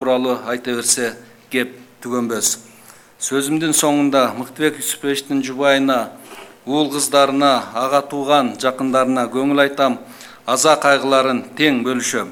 тууралуу айта берсе кеп түгөнбөс. Сөзүмдүн соңунда Мыктыбек Юсуповичтин жубайына, уул кыздарына, ага тууган жакындарына көңүл айтам, аза кайгыларын тең бөлүшөм.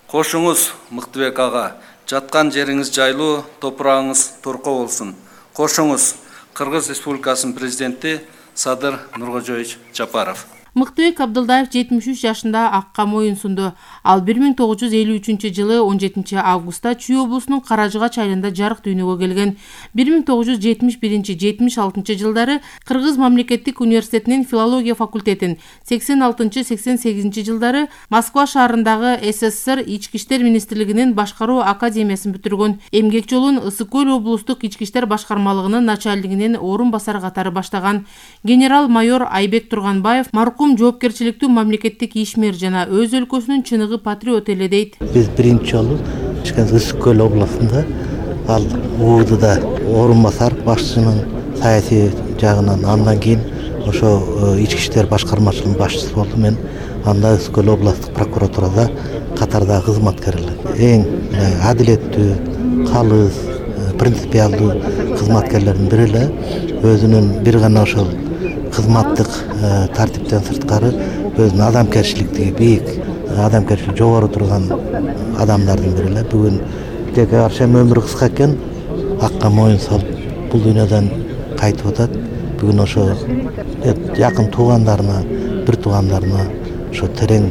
Кошуңуз Мыктыбек ага, жаткан жериңиз жайлуу, топурагыңыз торко болсун. Кошуңуз Кыргыз Республикасынын президенти Садыр Нуркожоевич Жапаров. Мыктыбек Абдылдаев 73 жашында акка моюн сунду. Ал 1953-жылы 17 августта Чүй облусунун Каражыгач айылында жарык дүйнөгө келген. 1971-76 жылдары Кыргыз мамлекеттик университетинин филология факультетин, 86-88 жылдары Москва шаарындагы СССР Ички иштер министрлигинин башкаруу академиясын бүтүргөн. Эмгек жолун Ысык Көл облустук ички иштер башкармалыгынын начальнигинин орун басары катары баштаган. Генерал-майор Айбек Турганбаев жоопкерчиликтүү мамлекеттик ишмер жана өз өлкөсүнүн чыныгы патриот эле дейт. Биз биринчи жолу Ысык Көл областында ал УУДда орун басар башчынын саясий жагынан, андан кийин ошо ички иштер башкармачылыгынын башчысы болдум. Мен анда Ысык Көл областтык прокуратурада катардагы кызматкер эле. Эң адилеттүү, калыс, принципиалдуу кызматкерлердин бири эле. Өзүнүн бир гана ошол кызматтык тартиптен сырткары өзүнүн адамкерчиликтиги бийик, адамкерчилиги жогору турган адамдардын бири эле. Бүгүн теке аршем өмүрү кыска экен, акка моюн салып бул дүйнөдөн кайтып атат. Бүгүн ошо жакын туугандарына, бир туугандарына ошо терең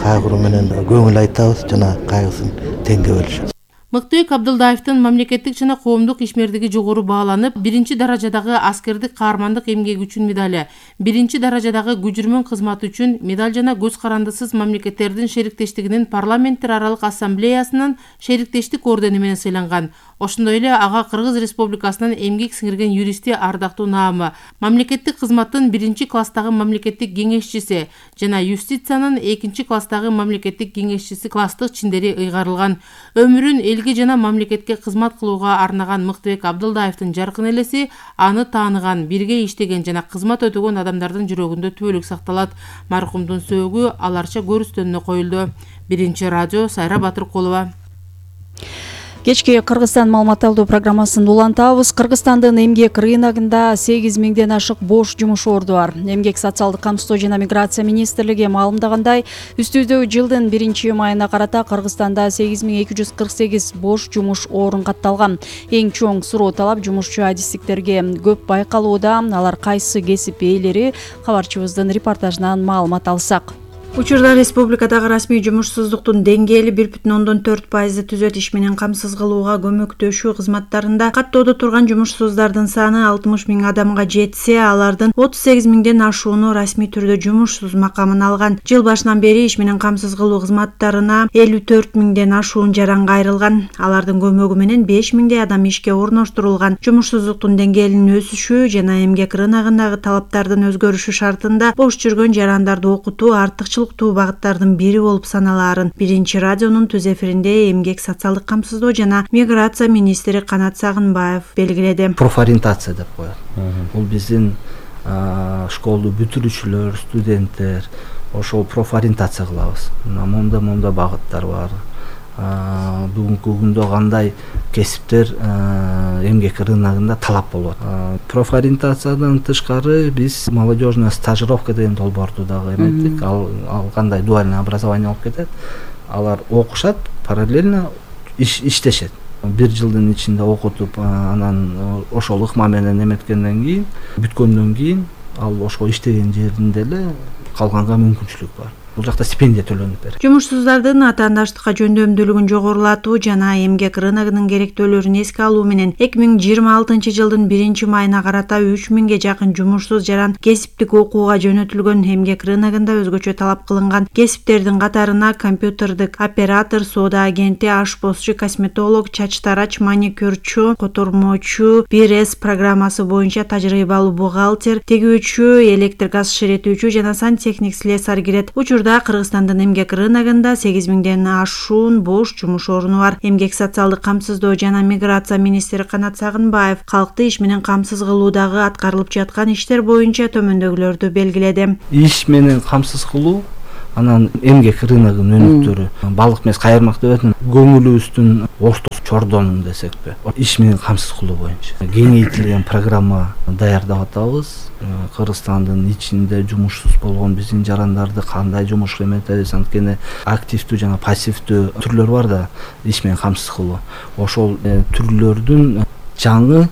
кайгыруу менен көңүл айтабыз жана кайгысын теңге бөлүшөбүз. Мыктыбек Абдылдаевдин мамлекеттик жана коомдук ишмердиги жогору бааланып, 1-даражадагы аскердик каармандык эмгеги үчүн медали, 1-даражадагы күжүрмөн кызматы үчүн медаль жана көз карандысыз мамлекеттердин шериктештигинин парламенттер аралык ассамблеясынын шериктештик ордени менен сыйланган. Ошондой эле ага Кыргыз Республикасынын эмгек сиңирген юристи ардактуу наамы, мамлекеттик кызматтын 1-класстагы мамлекеттик кеңешчиси жана юстициянын 2-класстагы мамлекеттик кеңешчиси класстык чиндери ыйгарылган. Өмүрүн элге жана мамлекетке кызмат кылууга арнаган Мыктыбек Абдылдаевдин жаркын элеси аны тааныган, бирге иштеген жана кызмат өтөгөн адамдардын жүрөгүндө түбөлүк сакталат. Маркумдун сөөгү аларча көрүстөнүнө коюлду. 1-радио Сайра Батыркулова. Кечки Кыргызстан маалымат алуу программасын улантабыз. Кыргызстандын эмгек рыногунда 8000ден ашык бош жумуш орду бар. Эмгек социалдык камсыздоо жана миграция министрлиги маалымдагандай, үстүздөгү жылдын 1-майына карата Кыргызстанда 8248 бош жумуш орун катталган. Эң чоң суроо талап жумушчу адистиктерге көп байкалууда. Алар кайсы кесип ээлери? Кабарчыбыздын репортажынан маалымат алсак. Учурда республикадагы расмий жумушсуздуктун деңгээли 1,4% түзөт. Иш менен камсыз кылууга көмөктөшүү кызматтарында каттоодо турган жумушсуздардын саны 60 000 адамга жетсе, алардын 38 000ден ашууну расмий түрдө жумушсуз макамын алган. Жыл башынан бери иш менен камсыз кылуу кызматтарына 54 000ден ашуун жаранга айрылган. Алардын көмөгү менен 5 000дей адам ишке орноштурулган. Жумушсуздуктун деңгээлинин өсүшү жана эмгек рыногундагы талаптардын өзгөрүшү шартында бош жүргөн жарандарды окутуу артыкчыл багыттардын бири болуп саналаарын 1-радионун түз эфиринде эмгек социалдык камсыздоо жана миграция министри Канат Сагынбаев белгиледи. Профориентация деп коет. Бул биздин школду бүтүрүүчүлөр, студенттер ошол профориентация кылабыз. Момда багыттар бар. Бүгүнкү күндө кандай кесиптер эмгек рыногунда талап болот. Профориентациядан тышкары биз молодежная стажировка деген долбоорду дагы эметтик. Ал кандай дуальный образование болуп кетет. Алар окушат, параллельно иштешет. 1 жылдын ичинде окутуп, анан ошол ыкма менен эметкенден кийин, бүткөндөн кийин ал ошол иштеген жеринде эле калганга мүмкүнчүлүк бар. Бул жакта стипендия төлөнүп берет. Жумушсуздардын атаандаштыкка жөндөмдүүлүгүн жогорулатуу жана эмгек рыногунун керектөөлөрүн эске алуу менен 2026-жылдын 1-майына карата 3000ге жакын жумушсуз жаран кесиптик окууга жөнөтүлгөн. Эмгек рыногунда өзгөчө талап кылынган кесиптердин катарына компьютердик оператор, соода агенти, ашпозчу, косметолог, чач тарач, маникюрчу, котормочу, 1С программасы боюнча тажрыйбалуу бухгалтер, тегүүчү, электр газ ширетүүчү жана сантехник слесарь кирет. Учурда Кыргызстандын эмгек рыногунда 8000ден ашуун бош жумуш орну бар. Эмгек социалдык камсыздоо жана миграция министри Канат Сагынбаев калкты иш менен камсыз кылуудагы аткарылып жаткан иштер боюнча төмөндөгүлөрдү белгиледи. Иш менен камсыз кылуу Анан эмгек рыногунун өнүктөрү, балык эмес кайырмак деп атам. Көңүлүбүздүн ортосу чордон десекпи, иш менен камсыз кылуу боюнча кеңейтилген программа даярдап атабыз. Кыргызстандын ичинде жумушсуз болгон биздин жарандарды кандай жумушка эметебиз, анткени активдүү жана пассивдүү түрлөр бар да, иш менен камсыз кылуу. Ошол түрлөрдүн жаңы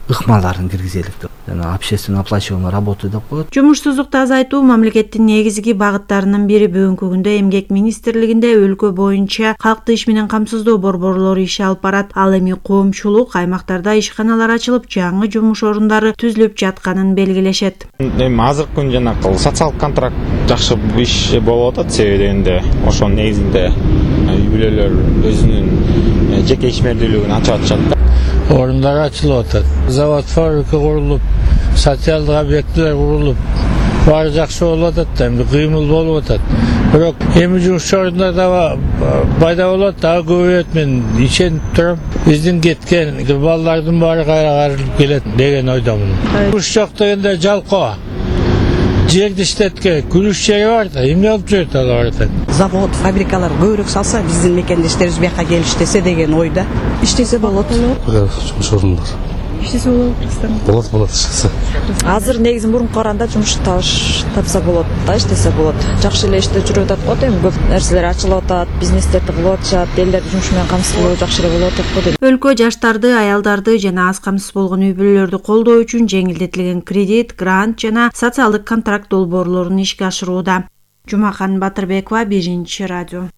ыкмаларын киргизелик деп. Жана общественно оплачиваемая работа деп коет. Жумушсуздукту азайтуу мамлекеттин негизги багыттарынын бири. Бүгүнкү күндө Эмгек министрлигинде өлкө боюнча калкты иш менен камсыздоо борборлору иш алып барат. Ал эми коомчулук аймактарда ишканалар ачылып, жаңы жумуш орундары түзүлүп жатканын белгилешет. Эми азыркы күндө жанакы социалдык контракт жакшы иш болуп атат, себеби дегенде ошонун негизинде үй бүлөлөр өзүнүн жеке ишмердүүлүгүн ачып атышат. Орундар ачылып атат. Завод, фабрика курулуп, социалдык объектилер курулуп, баары жакшы болуп атат да, эми кыймыл болуп атат. Бирок эми жумуш орундар да пайда болот, дагы көбөйөт, мен ишенип турам. Биздин кеткен балдардын баары кайра кайрылып келет деген ойдомун. Жумуш жок дегенде жалкоо. Жерди иштетке күлүш жери бар да, эмне болуп жүрөт алар да. Завод, фабрикалар көбүрөөк салса, биздин мекендештерибиз бияка келип иштесе деген ойда. Иштесе болот. Жумуш орундар. Иштесе болот Кыргызстанда. Болот иштесе. Азыр негизи мурунку караганда жумуш тапса болот да, иштесе болот. Жакшы эле иштеп жүрүп атат го, эми көп нерселер ачылып атат, бизнестерди кылып атышат, элдерди жумуш менен камсыз кылуу жакшы эле болуп атат го дейм. Өлкө жаштарды, аялдарды жана аз камсыз болгон үй бүлөлөрдү колдоо үчүн жеңилдетилген кредит, грант жана социалдык контракт долбоорлорун ишке ашырууда. Жумакан Батырбекова, 1-радио.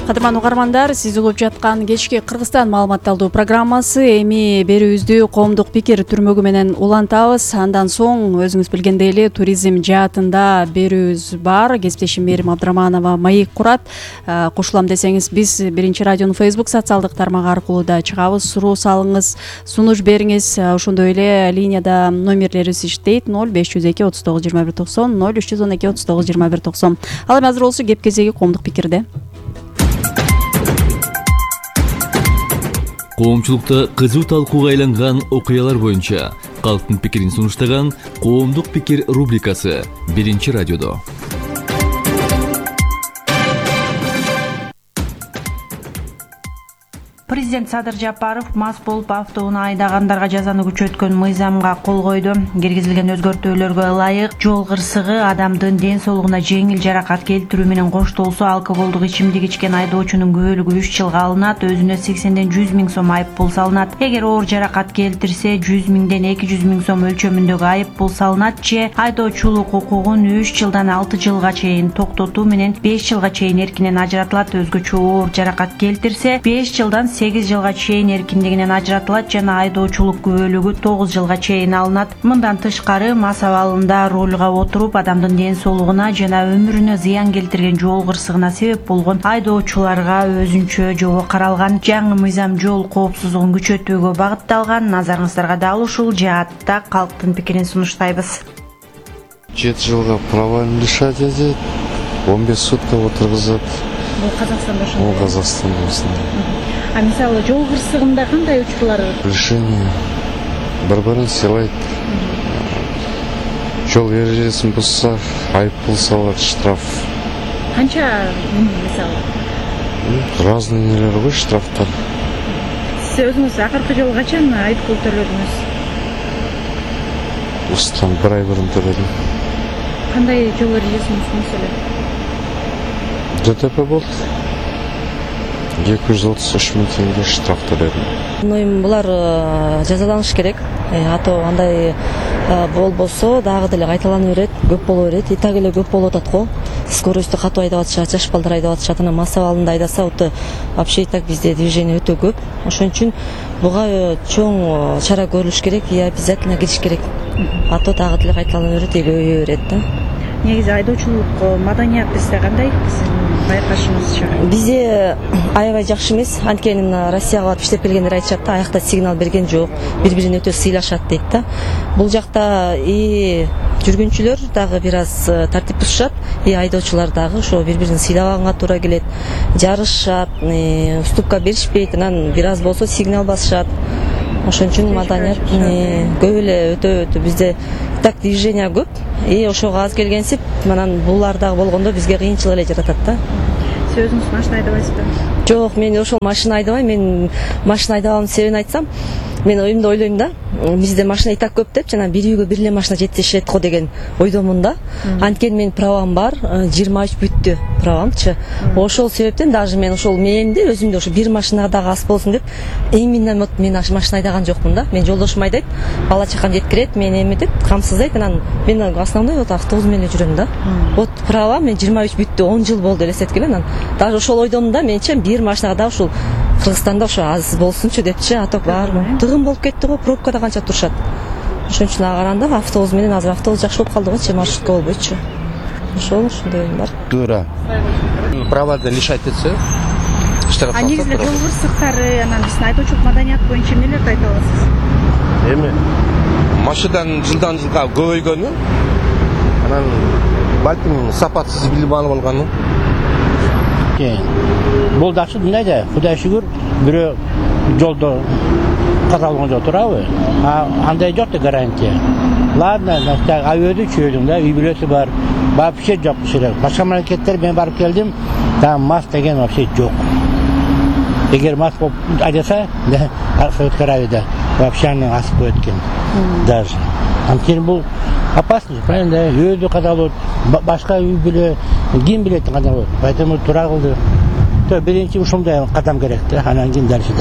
Кадырман угармандар, сиз угуп жаткан кечки Кыргызстан маалыматталдуу программасы эми берүүбүздү коомдук пикир түрмөгү менен улантабыз. Андан соң өзүңүз билгендей эле туризм жаатында берүүбүз бар. Кесиптешим Мерим Абдраманова маек курат. Кошулам десеңиз, биз 1-радионун Facebook социалдык тармагы аркылуу да чыгабыз. Суроо салыңыз, сунуш бериңиз. Ошондой эле линияда номерлерибиз иштейт: 0502 39 21 90, 0312 39 21 90. Ал эми азыр болсо кеп кезеги коомдук пикирде. Коомчулукта кызуу талкууга айланган окуялар боюнча калктын пикирин сунуштаган коомдук пикир рубрикасы 1-радиодо. Президент Садыр Жапаров мас болуп автоунаа айдагандарга жазаны күчөткөн мыйзамга кол койду. Киргизилген өзгөртүүлөргө ылайык жол кырсыгы адамдын ден соолугуна жеңил жаракат келтирүү менен коштолсо алкоголдук ичимдик ичкен айдоочунун күбөлүгү 3 жылга алынат, өзүнө 80ден 100 миң сом айып пул салынат. Эгер оор жаракат келтирсе 100 миңден 200 миң сом өлчөмүндөгү айып пул салынат же айдоочулук укугун 3 жылдан 6 жылга чейин токтотуу менен 5 жылга чейин эркинен ажыратылат. Өзгөчө оор жаракат келтирсе 5 жылдан 8 жылга чейин эркиндигинен ажыратылат жана айдоочулук күбөлүгү 9 жылга чейин алынат. Мындан тышкары мас абалында рулга отуруп адамдын ден соолугуна жана өмүрүнө зыян келтирген жол кырсыгына себеп болгон айдоочуларга өзүнчө жобо каралган. Жаңы мыйзам жол коопсуздугун күчөтүүгө багытталган. Назарыңыздарга дал ушул жаатта калктын пикирин сунуштайбыз. 7 жылга правовым лишать этет, 15 сутка отургузат. Бул Казакстанда ошондой. Бул Казакстанда ошондой. А мисалы жол кырсыгында кандай учурлар? Решение бір-бірін сыйлайт. Жол ережесин бузса, айып пул салат, штраф. Канча мисалы? Разный нелер ғой штрафтар. Сиз өзүңүз акыркы жолу качан айып пул төлөдүңүз? Устан бір ай бұрын төледім. Кандай жол ережесин буздуңуз эле? ДТП болды. 233 миң теңге штраф төледим. Булар жазаланыш керек. Ато андай болбосо дагы деле кайталана берет, көп боло берет. И так эле көп болуп атат го. Скоростьту катуу айдап атышат, жаш балдар айдап атышат. Анан мас абалында айдаса вообще и так бизде движение өтө көп. Ошон үчүн буга чоң чара көрүлүш керек и обязательно кириш керек. Ато дагы деле кайталана берет, көбөйө берет да. Негизи айдоочулук маданият бизде кандай? Байкашыңызча? Бизде аябай жакшы эмес. Анткени Россияга барып иштеп келгендер айтышат да, аякта сигнал берген жок, бири-бирин өтө сыйлашат дейт да. Бул жакта и жүргүнчүлөр дагы бир аз тартип бузушат, и айдоочулар дагы ошо бири-бирин сыйлаганга туура келет, жарышат, уступка беришпейт, анан бир аз болсо сигнал басышат. Ошон үчүн маданият көп эле өтө бизде так движение көп, ошого аз келгенсип анан булар дагы болгондо бизге кыйынчылык эле жаратат да. Сиз өзүңүз машина айдабайсызбы? Жок, мен ошол машина айдабайм. Мен машина айдабаганын себебин айтсам, мен оюмда ойлойм да, бизде машина и так көп деп, жана бир үйгө бир эле машина жетишет го деген ойдомун да. Анткени менин правам бар, 23 бүттү правамчы. Ошол себептен даже мен ошол мээмди өзүмдө ошо бир машинага дагы аз болсун деп, именно мен машина айдаган жокмун да. Мен жолдошум айдайт, бала чакам жеткирет, мен эметип, камсыздайт, анан мен основной вот автобус менен жүрөм да. Вот права мен 23 бүттү, 10 жыл болду элестеткеле, анан даже ошол ойдомун да, менче бир машинага дагы ушул Кыргызстанда ошо аз болсунчу депчи, а то баары тыгын болуп кетти го, пробкада канча турушат. Ошон үчүн ага караганда автобус менен азыр автобус жакшы болуп калды го, маршрутка болбойчу. Ошондой оюм бар. Туура. Правадан лишать этсе, иштеген салса. Негизинде жол кырсыктары, анан биздин айдоочулук маданият боюнча эмнелерди айта аласыз? Эми машинадан жылдан жылга көбөйгөнү, анан балким сапатсыз билим алып алганы. Бул дакшы мындай, Кудай шүгүр, бирөө жолдо каза болгон жок турабы? Андай жок да гарантия. Ладно, авиоду чөйдүм да, үй бүлөсү бар. Вообще жок шерек. Башка мамлекеттер мен барып келдим, там мас деген вообще жок. Эгер мас болуп айдаса, Совет Аравияда вообще аны асып коет экен. Даже. Анткени бул опасно, правильно, да? Өзү каза болот, башка үй бүлө ким билет кандай болот. Поэтому туура кылды. Биринчи ушундай кадам керек да, анан кийин дальше.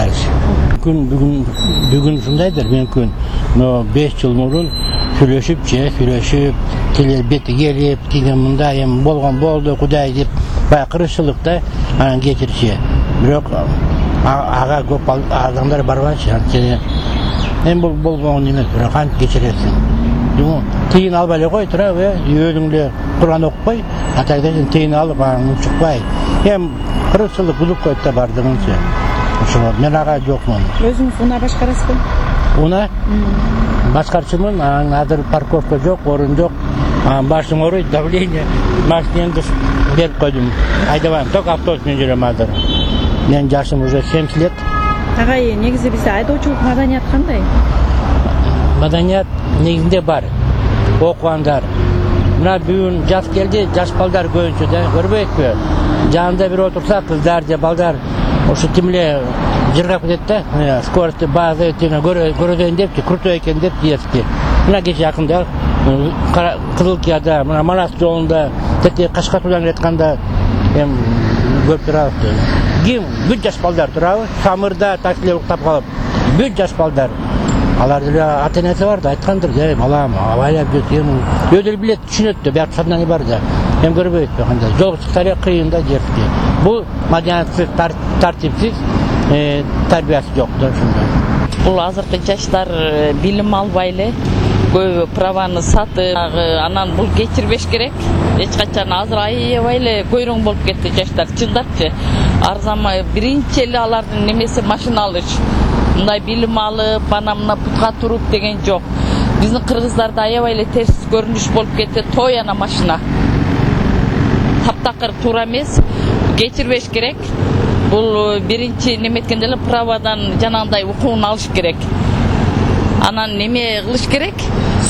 Бүгүн ушундайдыр, мүмкүн. Но 5 жыл мурун сүйлөшүп, келе бети келип, тиги мындай эми болгон болду, Кудай деп, баягы кыргызчылыкта анан кечирчи. Бирок ага көп адамдар барбайчы, анткени эми бул болгон эмес, бирок кантип кечиресиң. Тыйын албай эле кой, турабы, өзүң эле Куран окупай, атайдан тыйын алып, анан чыкпай. Эми кыргызчылык булуп коет да бардыгынча. Ошо мен ага жокмун. Өзүңүз унаа башкарасызбы? Унаа башкарчымын, анан азыр парковка жок, орун жок. Башым ооруйт, давление, машинемди берип койдум. Айдабайм, только автобус менен жүрөм азыр. Менин жашым уже 70 лет. Агай, негизи бизде айдоочулук маданият кандай? Маданият негизинде бар. Окугандар. Мына бүгүн жаз келди, жаш балдар көбүнчө да, көрбөйсүзбү? Жанында бир отурса, кыздар же балдар ошо тимле жыргап кетет да, скоростьты база көрөдөн депчи, крутой экен деп диески. Мына кече жакында Кызылкияда, мына Манас жолунда, Кашкатуудан кетканда эми көрүп турабыз. Ким бүт жаш балдар турабы, самырда таксилер уктап калып, бүт жаш балдар. Алар деле ата-энеси бар да, айткандыр, балам, абайлап жүр, эми өзү билет, түшүнөт да, бияк сознание бар да. Эми көрбөйт кандай. Жол чыкса эле кыйын да жерди. Бул маданиятсыз, тартипсиз, тарбиясы жок да ошондой. Бул азыркы жаштар билим албай эле, көбү праваны сатып, анан бул кечирбеш керек. Эч качан азыр аябай эле көйрөң болуп кетти жаштар, чындапчы. Арзанбай биринчи эле алардын немеси машина алыш. Мындай билим алып, анамына путка туруп деген жок. Биздин кыргыздарда аябай эле терс көрүнүш болуп кетти, той ана машина. Таптакыр туура эмес, кечирбеш керек. Бул биринчи неметкенде эле правадан жанагындай укугун алыш керек. Анан неме кылыш керек?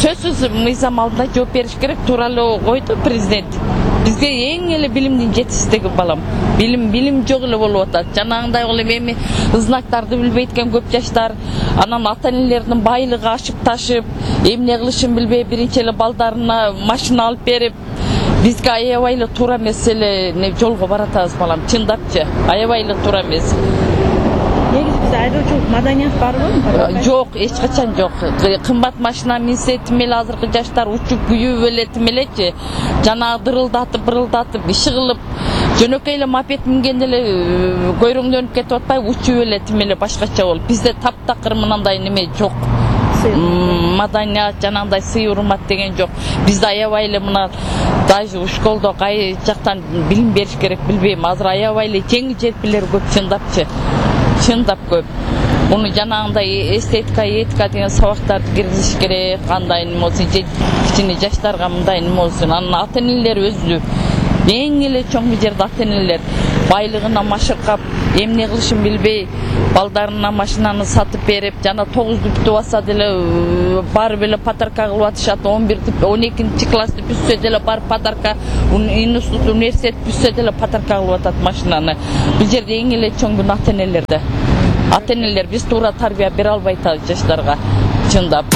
Сөзсүз мыйзам алдында жооп бериш керек. Туура эле койду президент. Бизге эң эле билимдин жетишсиздиги балам. Билим жок эле болуп атат. Жанагындай кылып эми знактарды билбейт экен көп жаштар. Анан ата-энелердин байлыгы ашып ташып, эмне кылышын билбей биринчи эле балдарына машина алып берип, бизге аябай эле туура эмес эле жолго баратабыз балам, чындапчы. Аябай эле туура эмес. Негизи бизде айдоочулук маданият барбы? Жок, эч качан жок. Кымбат машина минсе тимеле азыркы жаштар учуп күйүп эле тимелечи. Жанагы дырылдатып, иши кылып, жөнөкөй эле мопед мингенде эле көйрөңдөнүп кетип атпайбы, учуп эле тимеле башкача болуп. Бизде таптакыр мынандай неме жок. Маданият, жанагындай сый урмат деген жок. Бизде аябай эле мына даже школдо кай жактан билим бериш керек билбейм. Азыр аябай эле жеңил желпилер көп, чындапчы. Чындап көп. Муну жанагындай эстетика, этика деген сабактарды киргизиш керек. Кандай неме болсун, кичине жаштарга мындай неме болсун. Анан ата-энелер өзү эң эле чоң бул жерде ата энелер байлыгына машыркап эмне кылышын билбей балдарына машинаны сатып берип жана 9 бүтүп атса деле барып эле подарка кылып атышат, 12 классты бүтсө деле барып подарка, институт университет бүтсө деле подарка кылып атат машинаны. Бул жерде эң эле чоң бул ата энелерде. Ата энелер биз туура тарбия бере албай атат жаштарга чындап.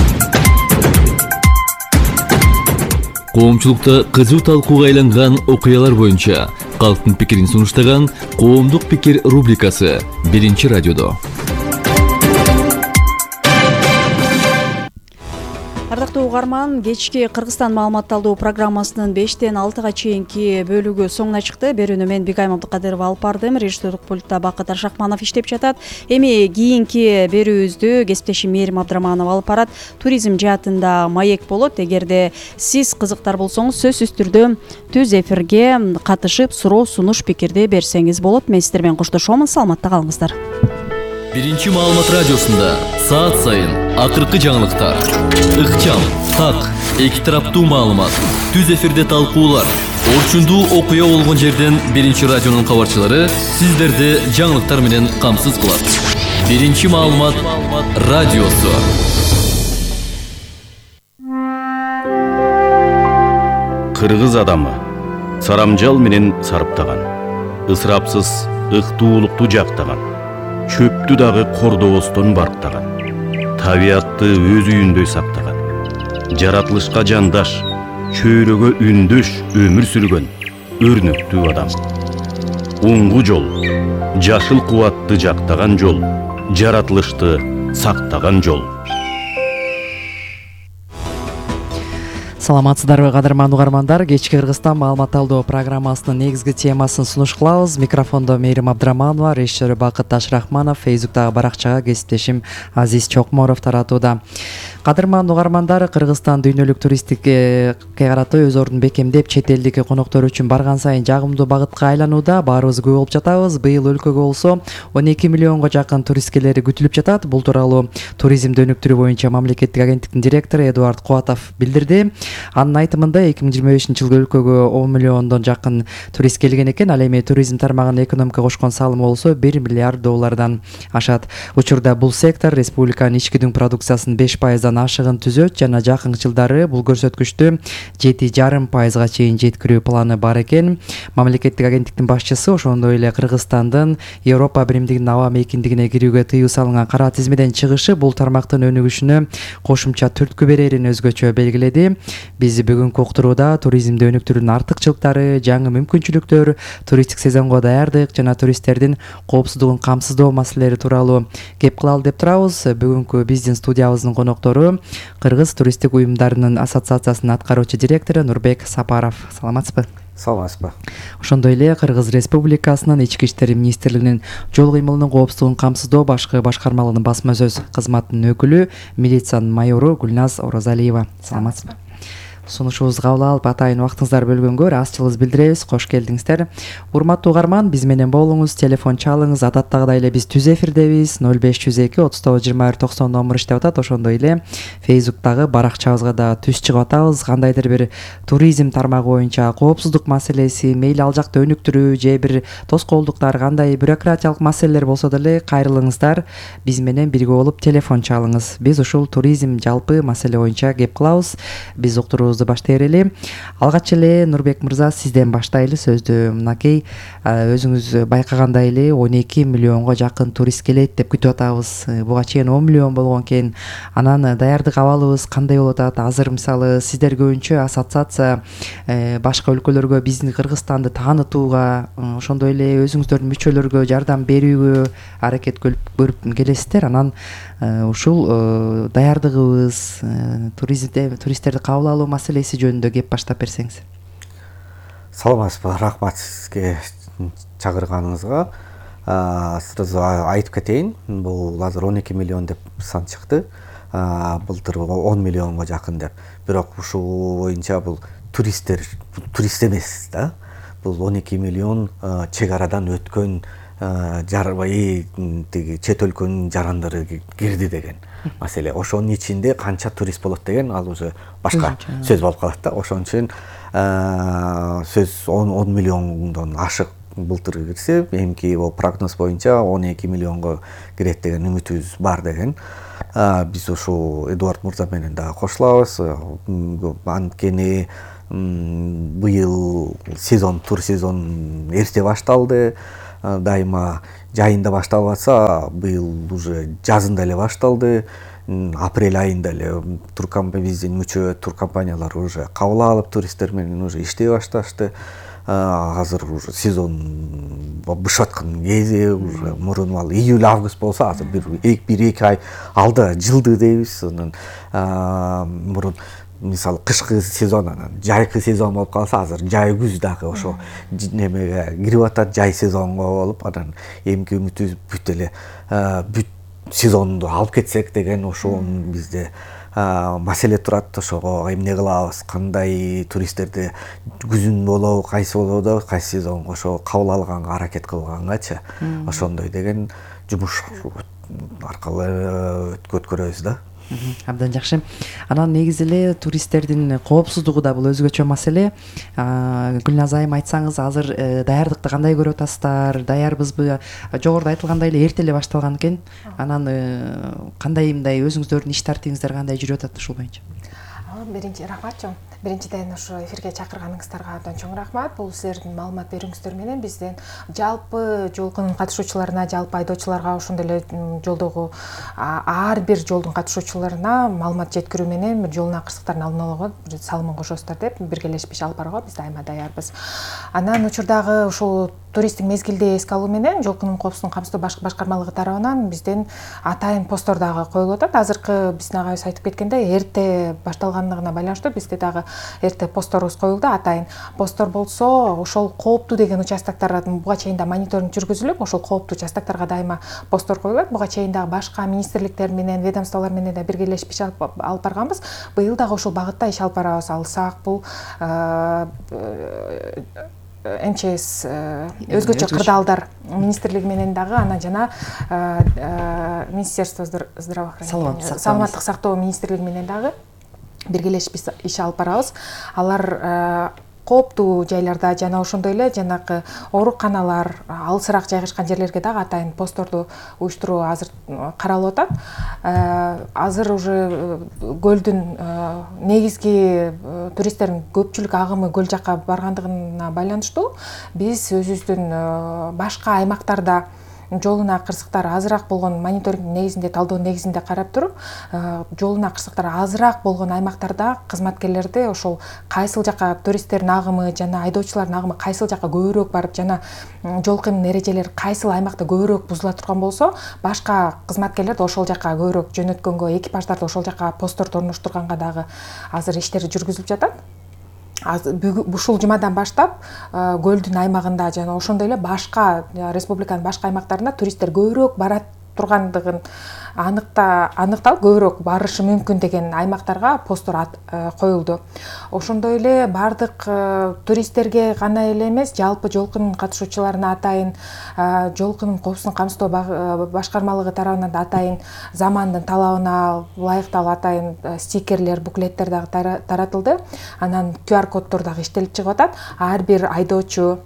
Коомчулукта кызуу талкууга айланган окуялар боюнча калктын пикирин сунуштаган Коомдук пикир рубрикасы 1 радиодо. Ардактуу угарман, кечки Кыргызстан маалыматталдуу программасынын 5-тен 6-га чейинки бөлүгү соңуна чыкты. Берүүнү мен Бигайым Абдыкадырова алып бардым. Режиссерлук пультта Бакыт Аршакманов иштеп жатат. Эми кийинки берүүбүздү кесиптешим Мээрим Абдыраманова алып барат. Туризм жаатында маек болот. Эгерде сиз кызыктар болсоңуз, сөзсүз түрдө түз эфирге катышып, суроо, сунуш, пикирди берсеңиз болот. Мен сиздер менен коштошом. Саламатта калыңыздар. 1 маалымат радиосунда саат сайын акыркы жаңылыктар, ыкчам, так, эки тараптуу маалымат, түз эфирде талкуулар, орчундуу окуя болгон жерден 1 радионун кабарчылары сиздерди жаңылыктар менен камсыз кылат. 1 маалымат радиосу. Кыргыз адамы сарамжал менен сарыптаган, ысырапсыз ыктуулукту жактаган, чөптү дагы кордобостон барктаган, табиатты өз үйүндөй сактаган, жаратылышка жандаш, чөйрөгө үндөш өмүр сүргөн өрнөктүү адам. Оңгу жол, жашыл кубатты жактаган жол, жаратылышты сактаган жол. Саламатсыздарбы кадырман угармандар, кечки Кыргызстан маалыматталдоо программасынын негизги темасын сунуш кылабыз. Микрофондо Мээрим Абдыраманова, режиссер Бакыт Аршакманов, Фейсбуктагы баракчага кесиптешим Азиз Чокморов таратууда. Кадырман угармандар, Кыргызстан дүйнөлүк туристикке карата өз ордун бекемдеп, чет элдик коноктор үчүн барган сайын жагымдуу багытка айланууда. Баарыбыз күбө болуп жатабыз. Быйыл өлкөгө болсо 12 миллионго жакын турист келери күтүлүп жатат. Бул тууралуу туризмди өнүктүрүү боюнча мамлекеттик агенттиктин директору Эдуард Кубатов билдирди. Анын айтымында 2025-жылы өлкөгө 10 миллиондон жакын турист келген экен. Ал эми туризм тармагына экономика кошкон салымы болсо $1 миллиард ашат. Учурда бул сектор республиканын ички дүң продукциясынын 5% ашыгын түзөт жана жакынкы жылдары бул көрсөткүчтү 7,5% чейин жеткирүү планы бар экен. Мамлекеттик агенттиктин башчысы ошондой эле Кыргызстандын Европа биримдигинин аба мейкиндигине кирүүгө тыюу салынган кара тизмеден чыгышы бул тармактын өнүгүшүнө кошумча түрткү берерин өзгөчө белгиледи. Биз бүгүнкү уктурууда туризмди өнүктүрүүнүн артыкчылыктары, жаңы мүмкүнчүлүктөр, туристтик сезонго даярдык жана туристтердин коопсуздугун камсыздоо маселелери тууралуу кеп кылалы деп турабыз. Бүгүнкү биздин студиябыздын коноктору Кыргыз туристтик уюмдарынын ассоциациясынын аткаруучу директору Нурбек Сапаров. Саламатсызбы? Саламатсызбы. Ошондой эле Кыргыз Республикасынын Ички иштер министрлигинин жол кыймылынын коопсуздугун камсыздоо башкы башкармалыгынын басма сөз кызматынын өкүлү, милициянын майору Гүлназ Орозалиева. Саламатсызбы? Сунушубузду кабыл алып, атайын убактыңыздарды бөлгөнгө ыраазычылыгыбызды билдиребиз. Кош келдиңиздер. Урматтуу угарман, биз менен болуңуз, телефон чалыңыз. Адаттагыдай эле биз түз эфирдебиз. 0502 39 21 90 номер иштеп атат. Ошондой эле Фейсбуктагы баракчабызга да түз чыгып атабыз. Кандайдыр бир туризм тармагы боюнча коопсуздук маселеси, мейли ал жакта өнүктүрүү же бир тоскоолдуктар, кандай бюрократиялык маселелер болсо деле кайрылыңыздар. Биз менен бирге болуп телефон чалыңыз. Биз ушул туризм жалпы маселе боюнча кеп кылабыз. Биз уктуруу баштай берели. Алгач эле Нурбек мырза, сизден баштайлы сөздү. Мынакей өзүңүз байкагандай эле 12 миллионго жакын турист келет деп күтүп атабыз. Буга чейин 10 миллион болгон экен. Анан даярдык абалыбыз кандай болуп атат? Азыр мисалы сиздер көбүнчө ассоциация башка өлкөлөргө биздин Кыргызстанды таанытууга, ошондой эле өзүңүздөрдүн мүчөлөргө жардам берүүгө аракет көрүп келесиздер. Анан ушул даярдыгыбыз, туристтерди кабыл алуу маселеси жөнүндө кеп баштап берсеңиз. Саламатсызбы, рахмат сизге чакырганыңызга. Сразу айтып кетейин, бул азыр 12 миллион деп сан чыкты. Былтыр 10 миллионго жакын деп. Бирок ушул боюнча бул турист эмес да. Бул 12 миллион чек арадан өткөн тиги чет өлкөнүн жарандары кирди деген маселе. Ошонун ичинде канча турист болот деген ал уже башка сөз болуп калат да. Ошон үчүн сөз 10 миллиондон ашык былтыр кирсе, эмки прогноз боюнча 12 миллионго кирет деген үмүтүбүз бар деген. Биз ушул Эдуард мырза менен дагы кошулабыз. Анткени быйыл тур сезон эрте башталды. Дайыма жайында башталып атса, быйыл уже жазында эле башталды. Апрель айында эле биздин мүчө туркомпаниялар уже кабыл алып, туристтер менен уже иштей башташты. Азыр уже сезон бышып аткан кези, уже мурун ал июль-август болсо, азыр бир 1-2 ай алда жылды дейбиз. Мурун мисалы кышкы сезон, анан жайкы сезон болуп калса, азыр жай күз дагы ошо немеге кирип атат, жай сезонго болуп, анан эмки үмүтүбүз бүт эле бүт сезонду алып кетсек деген ошол бизде маселе турат. Ошого эмне кылабыз, кандай туристтерди күзүн болобу, кайсы болобу, кайсы сезонго ошо кабыл алганга аракет кылгангачы ошондой деген жумуш аркылуу өткөрөбүз да. Абдан жакшы. Анан негизи эле туристтердин коопсуздугу да бул өзгөчө маселе. Гүлназ айым, айтсаңыз, азыр даярдыкты кандай көрүп атасыздар? Даярбызбы? Жогоруда айтылгандай эле эрте эле башталган экен. Анан кандай мындай өзүңүздөрдүн иш тартибиңиздер кандай жүрүп атат ушул боюнча? Биринчи рахматчы. Биринчиден ошо эфирге чакырганыңыздарга абдан чоң рахмат. Бул силердин маалымат берүүңүздөр менен бизден жалпы жолкунун катышуучуларына, жалпы айдоочуларга, ошондой эле жолдогу ар бир жолдун катышуучуларына маалымат жеткирүү менен бир жолун акырсыктарын алдын алууга бир салымын кошосуздар деп биргелешип иш алып барууга биз дайыма даярбыз. Анан учурдагы ушул туристтик мезгилди эске алуу менен жолкунун коопсуздугун камсыздоо башкармалыгы тарабынан бизден атайын посттор дагы коюлуп атат. Азыркы биздин агайыбыз айтып кеткендей, эрте башталгандыгына байланыштуу бизде дагы эрте постторубуз коюлду. Атайын посттор болсо, ошол кооптуу деген участоктарда буга чейин да мониторинг жүргүзүлүп, ошол кооптуу участоктарга дайыма посттор коюлат. Буга чейин дагы башка министрликтер менен, ведомстволор менен да биргелешип иш алып барганбыз. Быйыл дагы ошол багытта иш алып барабыз. Алсак бул МЧС өзгөчө кырдаалдар министрлиги менен дагы, анан жана Министерство здравоохранения, саламаттык сактоо министрлиги менен дагы биргелешип иш алып барабыз. Алар кооптуу жайларда жана ошондой эле жанагы ооруканалар, алысыраак жайгашкан жерлерге дагы атайын постторду уюштуруу азыр каралып атат. Азыр уже көлдүн негизги туристтердин көпчүлүк агымы көл жакка баргандыгына байланыштуу биз өзүбүздүн башка аймактарда жолуна кырсыктар азыраак болгон, мониторинг негизинде, талдоо негизинде карап туруп, жолуна кырсыктар азыраак болгон аймактарда кызматкерлерди ошол кайсыл жака туристтердин агымы жана айдоочулардын агымы кайсыл жака көбүрөөк барып, жана жол кыймын эрежелери кайсыл аймакта көбүрөөк бузула турган болсо, башка кызматкерлерди ошол жака көбүрөөк жөнөткөнгө, экипаждарды ошол жака постторду орноштурганга дагы азыр иштер жүргүзүлүп жатат. Ушул жумадан баштап көлдүн аймагында жана ошондой эле башка республиканын башка аймактарында туристтер көбүрөөк бара тургандыгын аныкталып, көбүрөөк барышы мүмкүн деген аймактарга посттор коюлду. Ошондой эле бардык туристтерге гана эле эмес, жалпы жолкунун катышуучуларына атайын жолкунун коопсуздугун камсыздоо башкармалыгы тарабынан да атайын замандын талабына ылайыктуу атайын стикерлер, буклеттер дагы таратылды. Анан QR коддор дагы иштелип чыгып атат. Ар бир айдоочу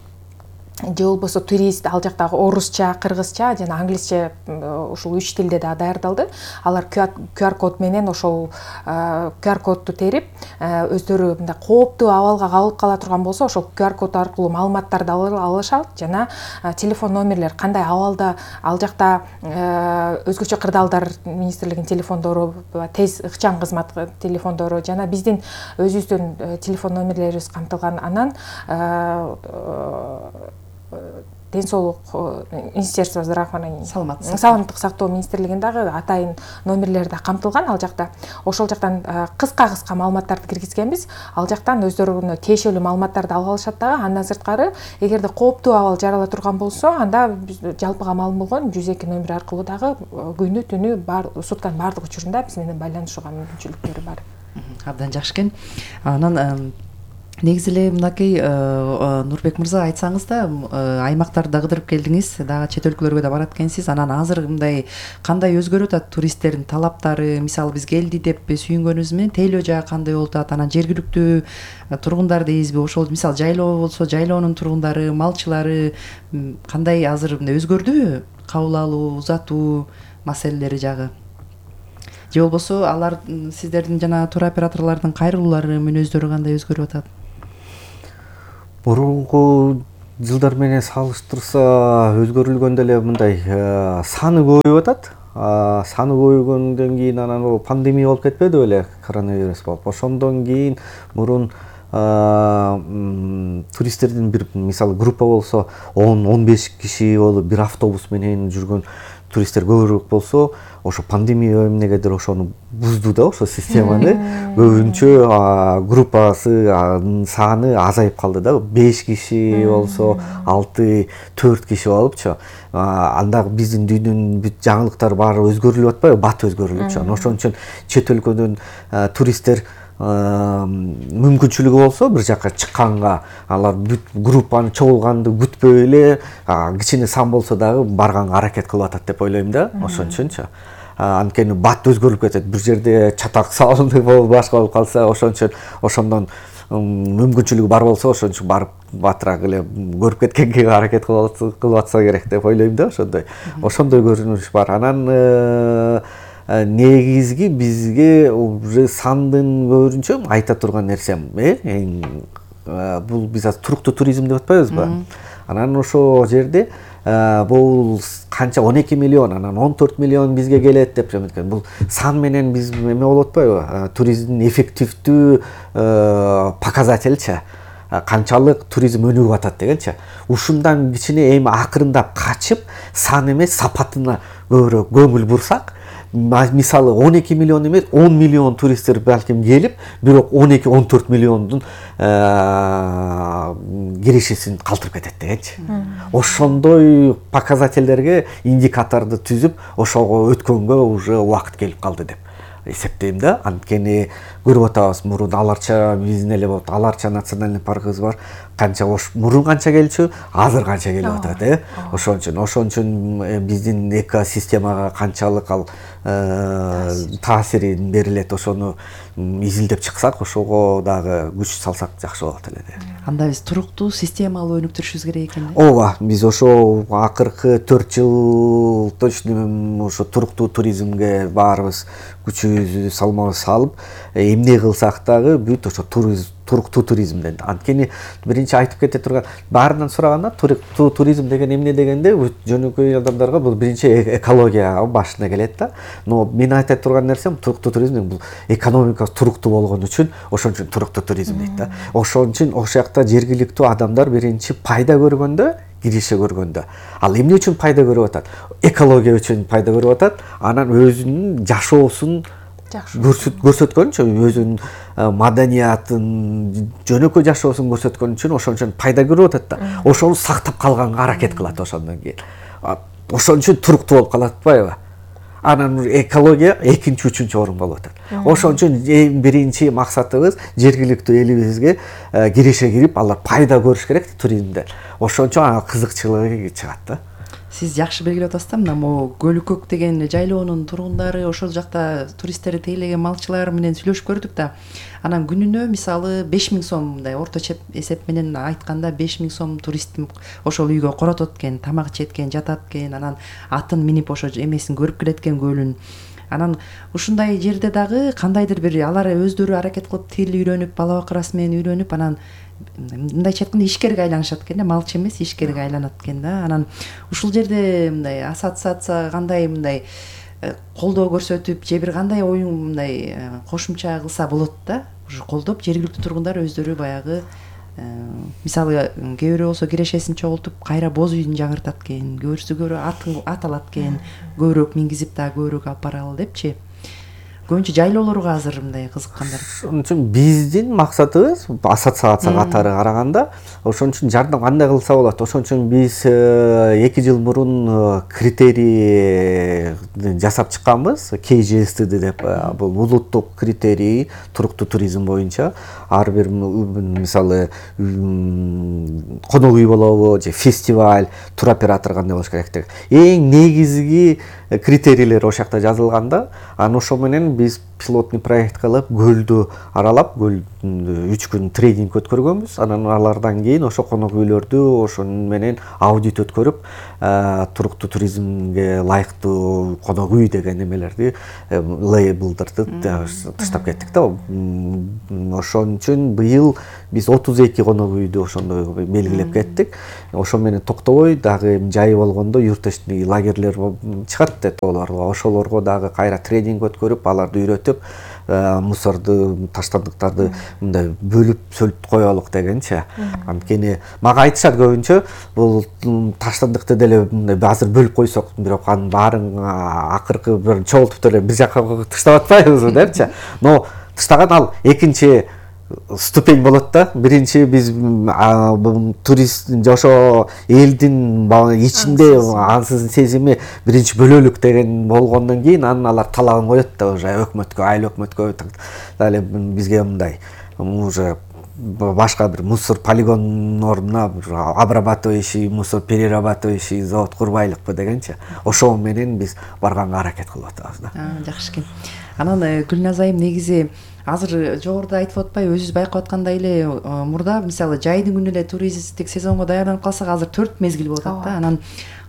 же болбосо турист ал жактагы орусча, кыргызча жана англисче ушул 3 тилде да даярдалды. Алар QR код менен ошол QR кодду терип, өздөрү мындай кооптуу абалга кабылып кала турган болсо, ошол QR код аркылуу маалыматтарды алышат жана телефон номерлер кандай абалда ал жакта өзгөчө кырдаалдар министрлигинин телефондору, тез ыкчам кызмат телефондору жана биздин өзүбүздүн телефон номерлерибиз камтылган. Анан ден соолук Министерство здравоохранения, саламаттык сактоо министрлигиндагы атайын номерлери да камтылган ал жакта. Ошол жактан кыска маалыматтарды киргизгенбиз. Ал жактан өздөрүнө тиешелүү маалыматтарды алып алышат дагы. Андан сырткары, эгерде кооптуу абал жарала турган болсо, анда жалпыга маалым болгон 102 номери аркылуу дагы күнү түнү сутканын бардык учурунда биз менен байланышууга мүмкүнчүлүктөрү бар. Абдан жакшы экен. Анан негизи эле мынакей Нурбек мырза айтсаңыз да, аймактарда кыдырып келдиңиз, дагы чет өлкөлөргө да барат экенсиз. Анан азыр мындай кандай өзгөрүп атат туристтердин талаптары? Мисалы биз келди деп сүйүнгөнүбүз менен тейлөө жагы кандай болуп атат? Анан жергиликтүү тургундар дейбизби? Ошол мисалы жайлоо болсо, жайлоонун тургундары, малчылары кандай азыр мындай өзгөрдүбү? Кабыл алуу, узатуу маселелери жагы. Же болбосо алар сиздердин жана туроператорлордун кайрылуулары, мүнөздөрү кандай өзгөрүп атат? Мурунку жылдар менен салыштырса өзгөрүлгөндө эле мындай саны көбөйүп атат. Саны көбөйгөндөн кийин анан ол пандемия болуп кетпеди беле, коронавирус болуп. Ошондон кийин мурун туристтердин бир мисалы группа болсо 10-15 киши болуп бир автобус менен жүргөн туристтер көбүрөөк болсо, ошо пандемия эмнегедир ошону бузду да, ошо системаны. Көбүнчө группасы саны азайып калды да. 5 киши болсо 6-4 киши болупчу. Анда биздин дүйнөнүн бүт жаңылыктары баары өзгөрүлүп атпайбы? Бат өзгөрүлүпчү. Ошон үчүн чет өлкөдөн туристтер мүмкүнчүлүгү болсо бир жака чыкканга, алар бүт группаны чогулганды күтпөй эле кичине сан болсо дагы барганга аракет кылып атат деп ойлойм да. Ошон үчүнчү. Анткени бат өзгөрүп кетет. Бир жерде чатак салынып башка болуп калса, ошон үчүн ошондон мүмкүнчүлүгү бар болсо, ошон үчүн барып батыраак эле көрүп кеткенге аракет кылып атса керек деп ойлойм да. Ошондой көрүнүш бар. Анан негизги бизге уже сандын көбүнчө айта турган нерсем, бул биз азыр туруктуу туризм деп атпайбызбы? Анан ошол жерде бул канча 12 миллион, анан 14 миллион бизге келет деп жаткан. Бул сан менен биз эме болуп атпайбы? Туризмдин эффективдүү показательчи. Канчалык туризм өнүгүп атат дегенчи. Ушундан кичине эми акырындап качып, сан эмес сапатына көбүрөөк көңүл бурсак, мисалы 12 миллион эмес 10 миллион туристтер балким келип, бирок 12-14 миллиондун киришисин калтырып кетет дегенчи. Ошондой показательдерге индикаторду түзүп, ошого өткөнгө уже убакыт келип калды деп эсептейм да. Анткени көрүп атабыз, мурун Аларча биздин эле болот, Аларча национальный паркыбыз бар. Канча мурун канча келчү, азыр канча келип атат, Ошон үчүн биздин экосистемага канчалык ал таасирин берилет, ошону изилдеп чыксак, ошого дагы күч салсак жакшы болот эле. Анда биз туруктуу системалуу өнүктүрүшүбүз керек экен. Ооба, биз ошо акыркы 4 жыл точно ошо туруктуу туризмге баарыбыз күчүбүздү салмабызды салып, эмне кылсак дагы бүт ошо туруктуу туризмден. Анткени биринчи айтып кете турган, баарынан сураганда туруктуу туризм деген эмне дегенде, жөнөкөй адамдарга бул биринчи экология башына келет да. Но мен айта турган нерсем, туруктуу туризм бул экономикасы туруктуу болгон үчүн, ошон үчүн туруктуу туризм дейт да. Ошон үчүн ошол жакта жергиликтүү адамдар биринчи пайда көргөндө, киреше көргөндө. Ал эмне үчүн пайда көрүп атат? Экология үчүн пайда көрүп атат. Анан өзүнүн жашоосун көрсөткөн үчүн, өзүнүн маданиятын, жөнөкөй жашоосун көрсөткөн үчүн, ошон үчүн пайда көрүп атат да. Ошону сактап калганга аракет кылат ошондон кийин. Ошон үчүн туруктуу болуп калат атпайбы? Анан экология экинчи, үчүнчү орун болуп атат. Ошон үчүн эң биринчи максатыбыз жергиликтүү элибизге киреше кирип, алар пайда көрүш керек туризмден. Ошон үчүн кызыкчылыгы чыгат да. Сиз жакшы белгилеп атасыз да, мына могу Көлүкөк деген жайлоонун тургундары, ошол жакта туристтери тейлеген малчылар менен сүйлөшүп көрдүк да. Анан күнүнө мисалы 5000 сом, мындай орточо эсеп менен айтканда 5000 сом турист ошол үйгө коротот экен, тамак ичет экен, жатат экен, анан атын минип ошо эмесин көрүп келет экен, көлүн. Анан ушундай жерде дагы кандайдыр бир алар өздөрү аракет кылып тил үйрөнүп, бала бакырасы менен үйрөнүп, анан мындайча айтканда ишкерге айланышат экен да, малчы эмес, ишкерге айланат экен да. Анан ушул жерде мындай ассоциация кандай мындай колдоо көрсөтүп, же бир кандай оюн мындай кошумча кылса болот да. Ушу колдоп жергиликтүү тургундар өздөрү баягы мисалы кээ бирөө болсо кирешесин чогултуп кайра боз үйүн жаңыртат экен, кээ бирөөсү ат алат экен, көбүрөөк мингизип дагы көбүрөөк алып баралы депчи. көбүнчө жайлоолорго азыр мындай кызыккандар. Ошон үчүн биздин максатыбыз ассоциация катары караганда ошон үчүн жардам кандай кылса болот. Ошон үчүн биз 2 жыл мурун критерий жасап чыкканбыз, KGSTD деп. Бул улуттук критерий туруктуу туризм боюнча ар бир мисалы конок үй болобу же фестиваль, туроператор кандай болуш керек деп. Эң негизги критерийлер ошол жакта жазылганда, анан ошо менен биз пилотный проект кылып көлдү аралап, көлдү 3 күн тренинг өткөргөнбүз. Анан алардан кийин ошо конок үйлөрдү ошон менен аудит өткөрүп, туруктуу туризмге ылайыктуу конок үй деген эмелерди, лейблдерди таштап кеттик да. Ошон үчүн быйыл биз 32 конок үйдү ошондой белгилеп кеттик. Ошо менен токтобой дагы жай болгондо юрточный лагерлер чыгат да тоолорго. Ошолорго дагы кайра тренинг өткөрүп, аларды үйрөтүп, мусорду, таштандыктарды мындай бөлүп сөлүп коелук дегенче. Анткени мага айтышат көбүнчө, бул таштандыкты деле мындай азыр бөлүп койсок, бирок анын баарын акыркы бир чогултуп деле бир жакка таштап атпайбызбы депчи. Но таштаган ал экинчи ступень болот да. Биринчи биз турист ошо элдин ичинде ансыздын сезими биринчи бөлөлүк деген болгондон кийин анан алар талабын коет да, уже өкмөткө, айыл өкмөткө дале бизге мындай уже башка бир мусор полигонуна обрабатывающий, мусор перерабатывающий завод курбайлыкпы дегенче. Ошо менен биз барганга аракет кылып атабыз да. Жакшы экен. Анан Гүлназ айым, негизи азыр жогоруда айтып атпайбы, өзүбүз байкап аткандай эле, мурда мисалы жайдын күнү эле туристтик сезонго даярданып калсак, азыр 4 мезгил болуп атат да. Анан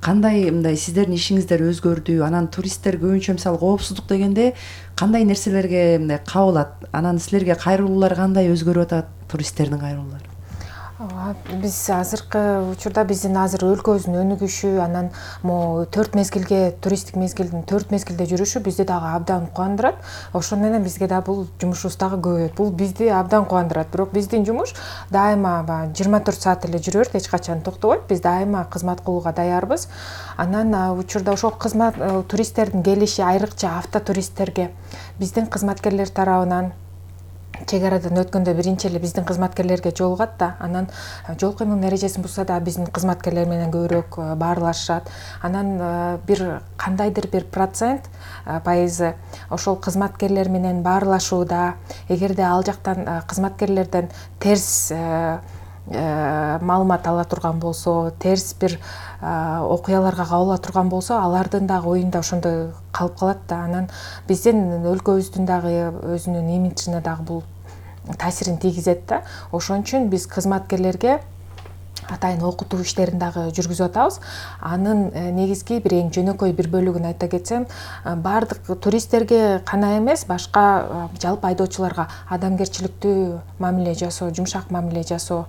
кандай мындай сиздердин ишиңиздер өзгөрдү? Анан туристтер көбүнчө мисалы коопсуздук дегенде кандай нерселерге мындай кабылат? Анан силерге кайрылуулар кандай өзгөрүп атат, туристтердин кайрылуулары? Биз азыркы учурда биздин азыр өлкөбүздүн өнүгүшү, анан могу 4 мезгилге, туристтик мезгилдин 4 мезгилде жүрүшү бизди дагы абдан кубандырат. Ошон менен бизге да бул жумушубуз дагы көбөйөт. Бул бизди абдан кубандырат. Бирок биздин жумуш дайыма 24 саат эле жүрө берет, эч качан токтобойт. Биз дайыма кызмат кылууга даярбыз. Анан учурда ошол кызмат туристтердин келиши, айрыкча автотуристтерге биздин кызматкерлер тарабынан чек арадан өткөндө биринчи эле биздин кызматкерлерге жолугат да, анан жол кыймыл эрежесин бузса да биздин кызматкерлер менен көбүрөөк баарлашышат. Анан бир кандайдыр бир процент пайызы ошол кызматкерлер менен баарлашууда, эгерде ал жактан кызматкерлерден терс маалымат ала турган болсо, терс бир окуяларга кабыла турган болсо, алардын дагы оюнда ошондой калып калат да. Анан биздин өлкөбүздүн дагы өзүнүн имиджине дагы бул таасирин тийгизет да. Ошон үчүн биз кызматкерлерге атайын окутуу иштерин дагы жүргүзүп атабыз. Анын негизги бир эң жөнөкөй бир бөлүгүн айта кетсем, бардык туристтерге гана эмес, башка жалпы айдоочуларга адамгерчиликтүү мамиле жасоо, жумшак мамиле жасоо,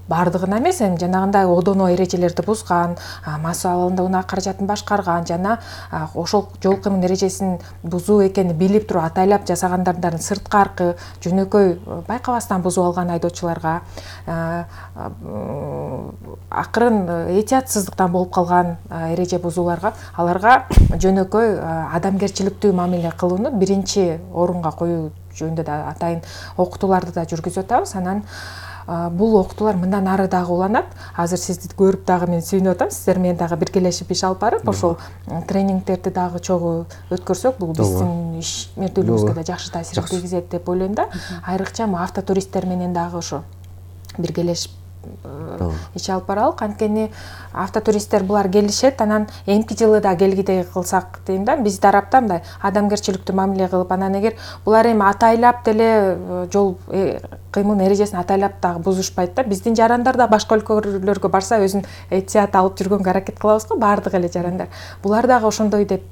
бардыгына эмес, эми жанагындай одоно эрежелерди бузган, мас абалында унаа каражатын башкарган жана ошол жол кыймыл эрежесин бузуу экенин билип туруп атайлап жасагандардын сырткаркы жөнөкөй байкабастан бузуп алган айдоочуларга, акырын этиятсыздыктан болуп калган эреже бузууларга, аларга жөнөкөй адамгерчиликтүү мамиле кылууну биринчи орунга коюу жөнүндө да атайын окутууларды да жүргүзүп атабыз. Анан бул окутуулар мындан ары дагы уланат. Азыр сизди көрүп дагы мен сүйүнүп атам. Сиздер менен дагы биргелешип иш алып барып, ошол тренингтерди дагы чогуу өткөрсөк, бул биздин ишмердүүлүгүбүзгө да жакшы таасир тийгизет деп ойлойм да. Айрыкча автотуристтер менен дагы ошо биргелешип иш алып баралык. Анткени автотуристтер булар келишет, анан эмки жылы да келгидей кылсак дейм да, биз тараптан мындай адамгерчиликтүү мамиле кылып, анан эгер булар эми атайлап деле жол кыймыл эрежесин атайлап дагы бузушпайт да, биздин жарандар да башка өлкөлөргө барса өзүн этият алып жүргөнгө аракет кылабыз го, баардык эле жарандар. Булар дагы ошондой деп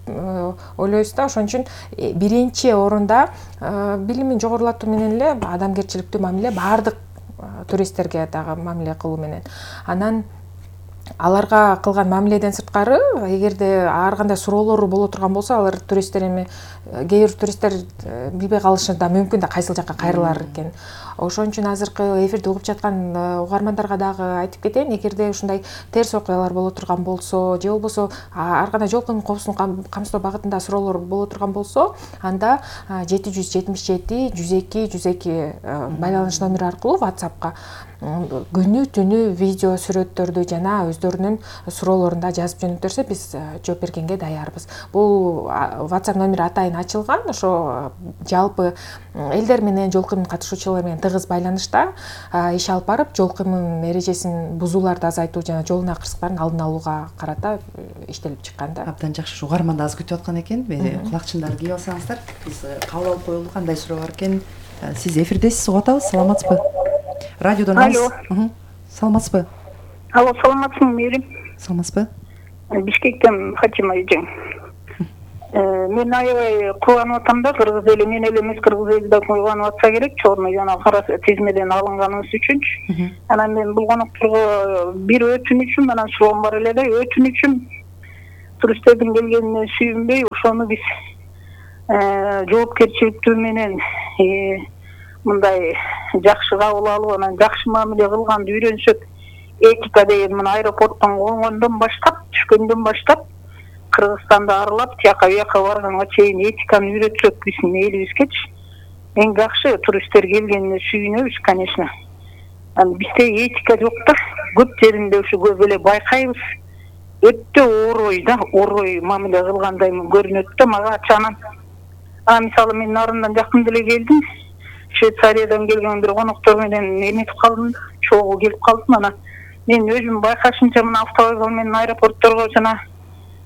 ойлойбуз да. Ошон үчүн биринчи орунда билимин жогорулатуу менен эле адамгерчиликтүү мамиле баардык туристтерге дагы мамиле кылуу менен. Анан аларга кылган мамиледен сырткары, эгерде ар кандай суроолору боло турган болсо, алар туристтер эми кээ бир туристтер билбей калышы да мүмкүн да, кайсыл жакка кайрылар экен. Ошон үчүн азыркы эфирди угуп жаткан угармандарга дагы айтып кетейин, эгерде ушундай терс окуялар боло турган болсо же болбосо ар кандай жол коопсуздугун камсыздоо багытында суроолор боло турган болсо, анда 777 102 102 байланыш номери аркылуу WhatsAppка күнү түнү видео сүрөттөрдү жана өздөрүнүн суроолорун да жазып жөнөтөрсө биз жооп бергенге даярбыз. Бул WhatsApp номери атайын ачылган, ошо жалпы элдер менен жол кыймыл катышуучулар менен тыгыз байланышта иш алып барып, жол кыймыл эрежесин бузууларды азайтуу жана жолдун акырсыктарын алдын алууга карата иштелип чыккан да. Абдан жакшы. Угарман да аз күтүп аткан экен. Кулакчындарды кийип алсаңыздар, биз кабыл алып коелу. Кандай суроо бар экен? Сиз эфирдесиз, угуп атабыз. Саламатсызбы? Радиодон алыс. Саламатсызбы? Алло, саламатсызбы, Мээрим? Саламатсызбы? Бишкектен Фатима эжең. Мен аябай кубанып атам да, кыргыз эли мен эле эмес, кыргыз эли да кубанып атса керек, чорный жана кара тизмеден алынганыбыз үчүнчү. Анан мен бул конокторго бир өтүнүчүм менен суроом бар эле да, өтүнүчүм туристтердин келгенине сүйүнбөй, ошону биз жоопкерчиликтүү менен мындай жакшы кабыл алып, анан жакшы мамиле кылганды үйрөнсөк, этика деген мына аэропорттон конгондон баштап, түшкөндөн баштап Кыргызстанды аралап, тияка бияка барганга чейин этиканы үйрөтсөк биздин элибизгечи эң жакшы. Туристтер келгенине сүйүнөбүз, конечно. Анан бизде этика жок да, көп жеринде ушу көп эле байкайбыз. Өтө орой да, орой мамиле кылгандай көрүнөт да мага ачанан. Мисалы мен нарындан жакын деле келдим. Швейцариядан келген бир коноктор менен эметип калдым, чогуу келип калдым. Анан мен өзүм байкашымча мына автовокзал менен аэропортторго жана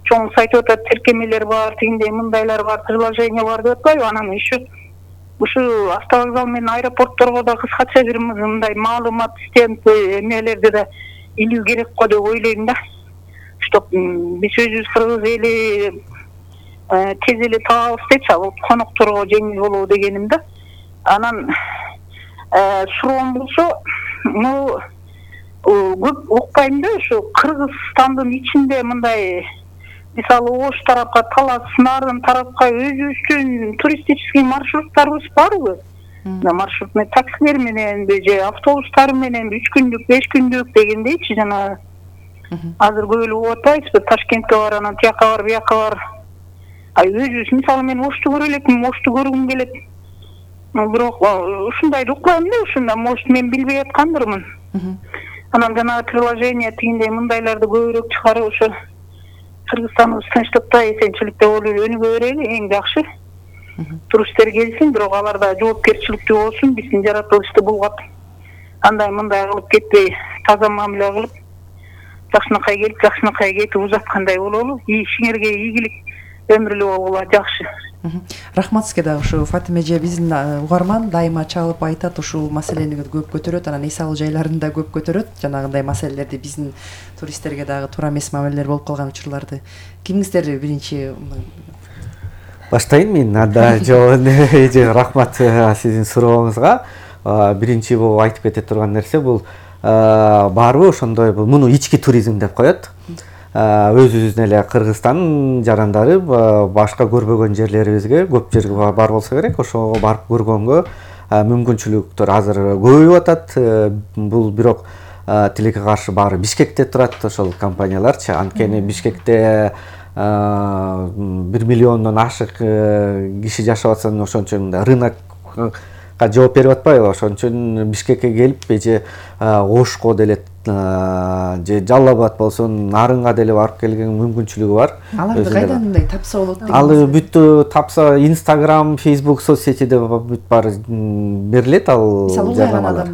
чоң айтып атат, тиркемелер бар, тигиндей мындайлар бар, приложение бар деп атпайбы. Анан еще ушу автовокзал менен аэропортторго да кыскача бир мындай маалымат стенд эмелерди да илүү керек го деп ойлойм да. Чтоб биз өзүбүз кыргыз эли тез эле табабыз депчи, ал конокторго жеңил болобу дегеним да. Анан суроом болсо, көп укпайм да, ушу Кыргызстандын ичинде мындай мисалы Ош тарапка, Талас, Нарын тарапка өзүбүздүн туристический маршруттарыбыз барбы? Маршрутный таксилер мененби же автобустар мененби 3 күндүк, 5 күндүк дегендейчи, жана азыр көп эле угуп атпайбызбы, Ташкентке бар, анан тияка бар, бияка бар. Өзүбүз мисалы мен Ошту көрө элекмин, Ошту көргүм келет. Бирок ушундайды укпайм да, ушунда может мен билбей аткандырмын. Анан жанагы приложение тигиндей мындайларды көбүрөөк чыгарып ошо Кыргызстаныбыз тынчтыкта, эсенчиликте болуп өнүгө берели, эң жакшы. Туристтер келсин, бирок алар да жоопкерчиликтүү болсун, биздин жаратылышты булгап андай мындай кылып кетпей, таза мамиле кылып, жакшынакай келип, жакшынакай кетип узаткандай бололу. Ишиңерге ийгилик, өмүрлүү болгула, жакшы. Рахмат сизге да. Ушу Фатима эже биздин угарман дайыма чалып айтат, ушул маселени көп көтөрөт, анан эс алуу жайларын да көп көтөрөт. Жанагындай маселелерди биздин туристтерге дагы туура эмес мамилелер болуп калган учурларды. Кимиңиздер биринчи? Баштайын мен. Анда жооп эже рахмат сиздин сурооңузга. Биринчи бул айтып кете турган нерсе бул барбы ошондой муну ички туризм деп коет. Өзүбүздүн эле Кыргызстан жарандары башка көрбөгөн жерлерибизге көп жерге бар болсо керек, ошого барып көргөнгө мүмкүнчүлүктөр азыр көбөйүп атат. Бул бирок тилекке каршы баары Бишкекте турат ошол компанияларчы. Анткени Бишкекте 1 миллиондон ашык киши жашап атса, ошон үчүн рынокко жооп берип атпайбы? Ошон үчүн Бишкекке келип эже Ошко деле же Жалал-Абад болсун, Нарынга деле барып келген мүмкүнчүлүгү бар. Аларды кайдан мындай тапса болот деген? Ал бүттү тапса Instagram, Facebook соцсетиде бүт бар берилет ал жарнамалар.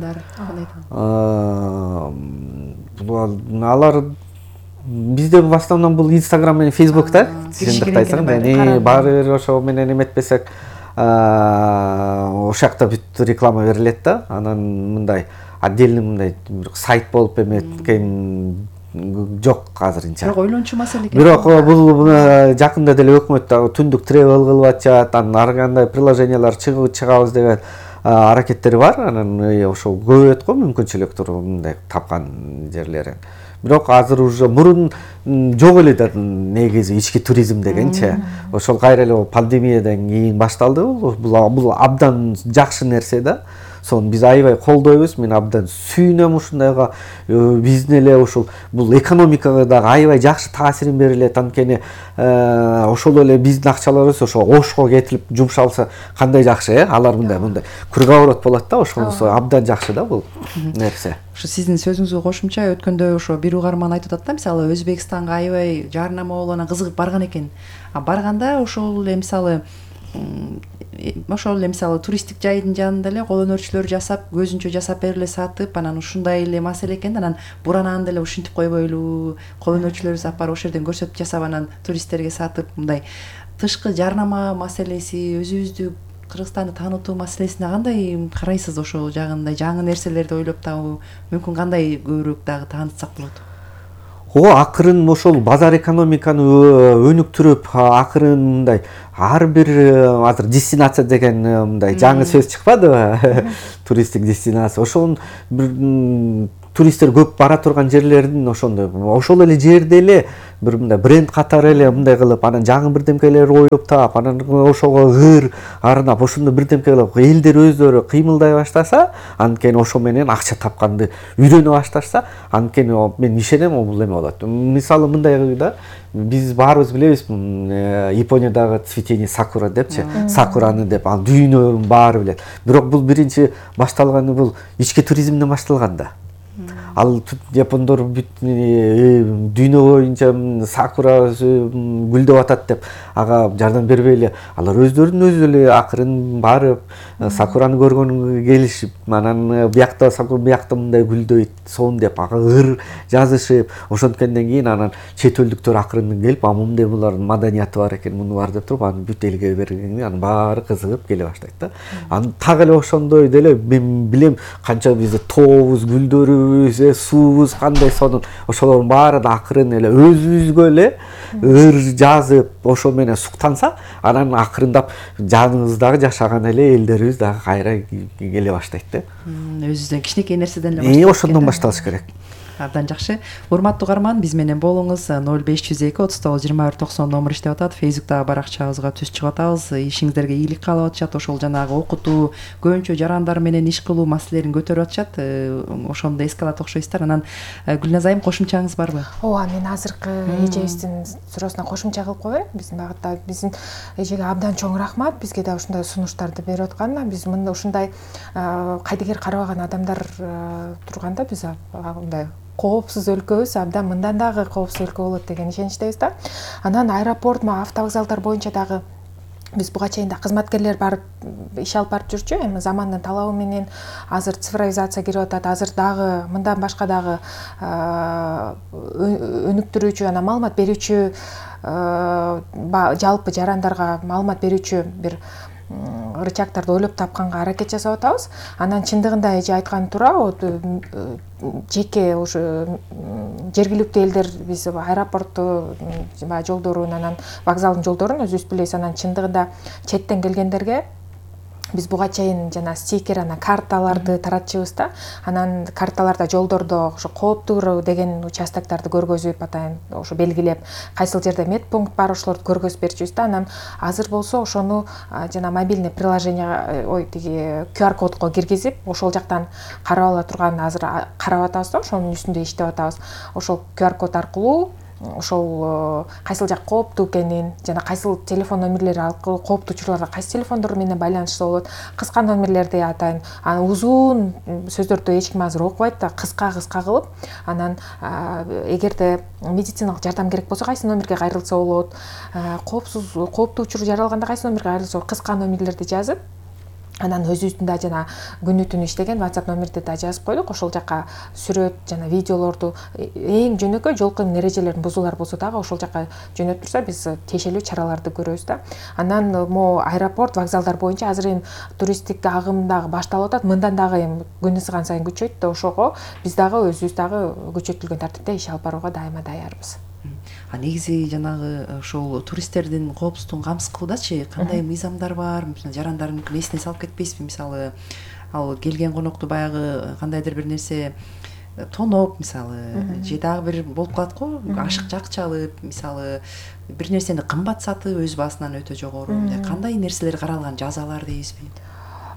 Алар бизде в основном бул Instagram менен Facebook да. Чындыктайсың, баары ошо менен эметпесек ошол жакта бүт реклама берилет да. Анан мындай отдельный мындай сайт болуп эметкен жок азырынча. Бирок ойлончу маселе экен. Бирок бул жакында деле өкмөт түндүк тревел кылып атат, анан ар кандай приложениялар чыгабыз деген аракеттери бар. Анан ошол көбөйөт го мүмкүнчүлүктөр мындай тапкан жерлери. бирок азыр уже мурун жок эле да негизи ички туризм дегенчи. Ошол кайра эле пандемиядан кийин башталды. Бул абдан жакшы нерсе да. Сону биз аябай колдойбуз. Мен абдан сүйүнөм ушундайга. Биздин эле ошол бул экономикага дагы аябай жакшы таасирин берилет. Анткени ошол эле биздин акчаларыбыз ошо Ошко кетип жумшалса кандай жакшы, алар мындай круговорот болот да, ошонусу абдан жакшы да бул нерсе. Ошо сиздин сөзүңүзгө кошумча өткөндө ошо бир угарман айтып атат да, мисалы Өзбекстанга аябай жарнама болуп анан кызыгып барган экен. Барганда ошол эле мисалы туристтик жайдын жанында эле кол өнөрчүлөр жасап, көзүнчө жасап бериле сатып, анан ушундай эле маселе экен да, анан буранан деле ушинтип койбойлу, кол өнөрчүлөрүбүз алып барып ошол жерден көрсөтүп жасап анан туристтерге сатып, мындай тышкы жарнама маселеси, өзүбүздү Кыргызстанды таанытуу маселесине кандай карайсыз? Ошол жагындай жаңы нерселерди ойлоп табуу мүмкүн кандай көбүрөөк дагы таанытсак болот? Акырын ошол базар экономиканы өнүктүрүп, акырын мындай ар бир азыр дестинация деген мындай жаңы сөз чыкпадыбы? Туристтик дестинация. Ошол бир туристтер көп бара турган жерлердин ошол эле жерде эле бир мындай бренд катары эле мындай кылып, анан жаңы бирдемкелер ойлоп таап, анан ошого ыр арнап, ошондо бирдемке кылып элдер өздөрү кыймылдай баштаса, анткени ошо менен акча тапканды үйрөнө башташса, анткени мен ишенем бул эме болот. Мисалы мындай да, биз баарыбыз билебиз, Япониядагы цветение сакура депчи, сакураны деп, ал дүйнөнүн баары билет. Бирок бул биринчи башталганы бул ички туризмден башталган да. Ал япондор дүйнө боюнча сакура гүлдөп атат деп ага жардам бербейли. Алар өздөрүнүн өзү эле акырын барып сакураны көргөнгө келишип, анан биякта сакура биякта мындай гүлдөйт, сон деп ага ыр жазышып, ошонткенден кийин анан чет элдиктер акырын келип, мындай булардын маданияты бар экен, муну бар деп туруп, аны бүт элге бергенде анан баары кызыгып келе баштайт да. Анан так эле ошондой деле мен билем канча бизде тообуз, гүлдөрүбүз, суубуз кандай сонун, ошолордун баары да акырын эле өзүбүзгө эле ыр жазып, ошо менен суктанса, анан акырындап жаныбыздагы жашаган эле элдерибиз дагы кайра келе баштайт да. Өзүбүздөн кичинекей нерседен эле башталат. Ошондон башталыш керек. Абдан жакшы. Урматтуу угарман, биз менен болуңуз. 0502 39 21 90 номер иштеп атат. Фейсбуктагы баракчабызга түз чыгып атабыз. Ишиңиздерге ийгилик каалап атышат. Ошол жанагы окутуу, көбүнчө жарандар менен иш кылуу маселелерин көтөрүп атышат. Ошондо эске алат окшойсуздар. Анан Гүлназа айым, кошумчаңыз барбы? Ооба, мен азыркы эжебиздин суроосуна кошумча кылып коеюн. Биздин багытта биздин эжеге абдан чоң рахмат. Бизге да ушундай сунуштарды берип атканына. Биз мында ушундай кайдыгер карабаган адамдар турганда биз мындай коопсуз өлкөбүз, абдан мындан дагы коопсуз өлкө болот деген ишеничтебиз да. Анан аэропорт, автовокзалдар боюнча дагы биз буга чейин да кызматкерлер барып иш алып барып жүрчү. Эми замандын талабы менен азыр цифровизация кирип атат. Азыр дагы мындан башка дагы өнүктүрүүчү, анан маалымат берүүчү, жалпы жарандарга маалымат берүүчү бир рычагтарды ойлоп тапканга аракет жасап атабыз. Анан чындыгында эже айтканы туура, жеке ошо жергиликтүү элдер биз аэропортту жолдорун, анан вокзалдын жолдорун өзүбүз билебиз. Анан чындыгында четтен келгендерге биз буга чейин жана стикер, анан карталарды таратчыбыз да. Анан карталарда жолдордо ошо кооптуу деген участокторду көргөзүп атайын, ошо белгилеп, кайсыл жерде медпункт бар, ошолорду көргөзүп берчүбүз да. Анан азыр болсо ошону жана мобильный приложение, тиги QR кодго киргизип, ошол жактан карап ала турган азыр карап атабыз да, ошонун үстүндө иштеп атабыз. Ошол QR код аркылуу ошол кайсыл жак кооптуу экенин жана кайсыл телефон номерлери аркылуу кооптуу учурларда кайсы телефондор менен байланышса болот, кыска номерлерди атайын, анан узун сөздөрдү эч ким азыр окубайт да, кыска кылып, анан эгерде медициналык жардам керек болсо кайсы номерге кайрылса болот, кооптуу учур жаралганда кайсы номерге кайрылса болот, кыска номерлерди жазып, анан өзүбүздүн да жана күнү түнү иштеген WhatsApp номерди да жазып койдук. Ошол жака сүрөт жана видеолорду, эң жөнөкөй жол кыймыл эрежелерин бузуулар болсо дагы ошол жака жөнөтүп турса, биз тиешелүү чараларды көрөбүз да. Анан могу аэропорт, вокзалдар боюнча азыр эми туристтик агым дагы башталып атат. Мындан дагы эми күн ысыган сайын күчөйт да, ошого биз дагы өзүбүз дагы күчөтүлгөн тартипте иш алып барууга дайыма даярбыз. Негизи жанагы ошол туристтердин коопсуздугун камсыз кылуудачы кандай мыйзамдар бар? Жарандар мүмкүн эсине салып кетпейсизби? Мисалы, ал келген конокту баягы кандайдыр бир нерсе тоноп мисалы же дагы бир болуп калат го, ашыкча акча алып мисалы бир нерсени кымбат сатып өз баасынан өтө жогору, мындай кандай нерселер каралган, жазалар дейбизби?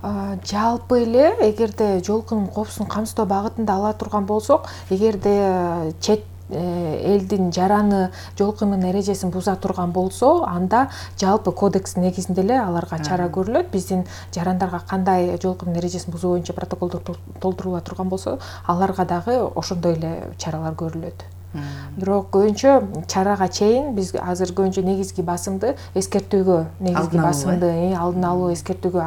Жалпы эле эгерде жолкунун коопсуздугун камсыздоо багытында ала турган болсок, эгерде чет элдин жараны жол кыймылынын эрежесин буза турган болсо, анда жалпы кодекстин негизинде эле аларга чара көрүлөт. Биздин жарандарга кандай жол кыймылынын эрежесин бузуу боюнча протоколдор толтурула турган болсо, аларга дагы ошондой эле чаралар көрүлөт. Бирок көбүнчө чарага чейин биз азыр көбүнчө негизги басымды эскертүүгө, негизги басымды алдын алуу эскертүүгө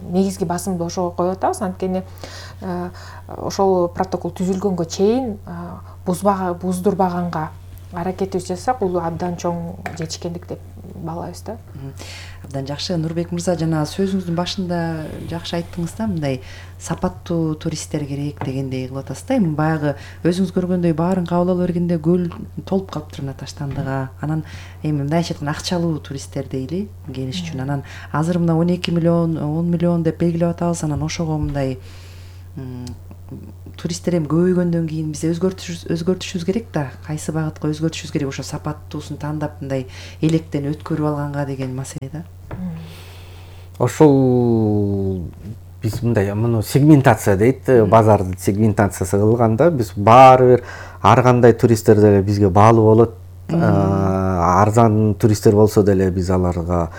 негизги басымды ошого коюп атабыз. Анткени ошол протокол түзүлгөнгө чейин буздурбаганга аракетибиз жасасак, бул абдан чоң жетишкендик деп баалайбыз да. Абдан жакшы. Нурбек мырза, жана сөзүңүздүн башында жакшы айттыңыз да, мындай сапаттуу туристтер керек дегендей кылып атасыз да. Эми баягы өзүңүз көргөндөй баарын кабыл ала бергенде көл толуп калыптыр мына таштандыга. Анан эми мындайча айтканда акчалуу туристтер дейли келиш үчүн. Анан азыр мына 12 миллион, 10 миллион деп белгилеп атабыз. Анан ошого мындай туристтер эми көбөйгөндөн кийин биз өзгөртүшүбүз керек да. Кайсы багытка өзгөртүшүбүз керек? Ошо сапаттуусун тандап мындай электен өткөрүп алганга деген маселе да. Ошол биз мындай муну сегментация дейт, базардын сегментациясы кылганда биз баары бир ар кандай туристтер деле бизге баалуу болот. Арзан туристтер болсо деле биз аларга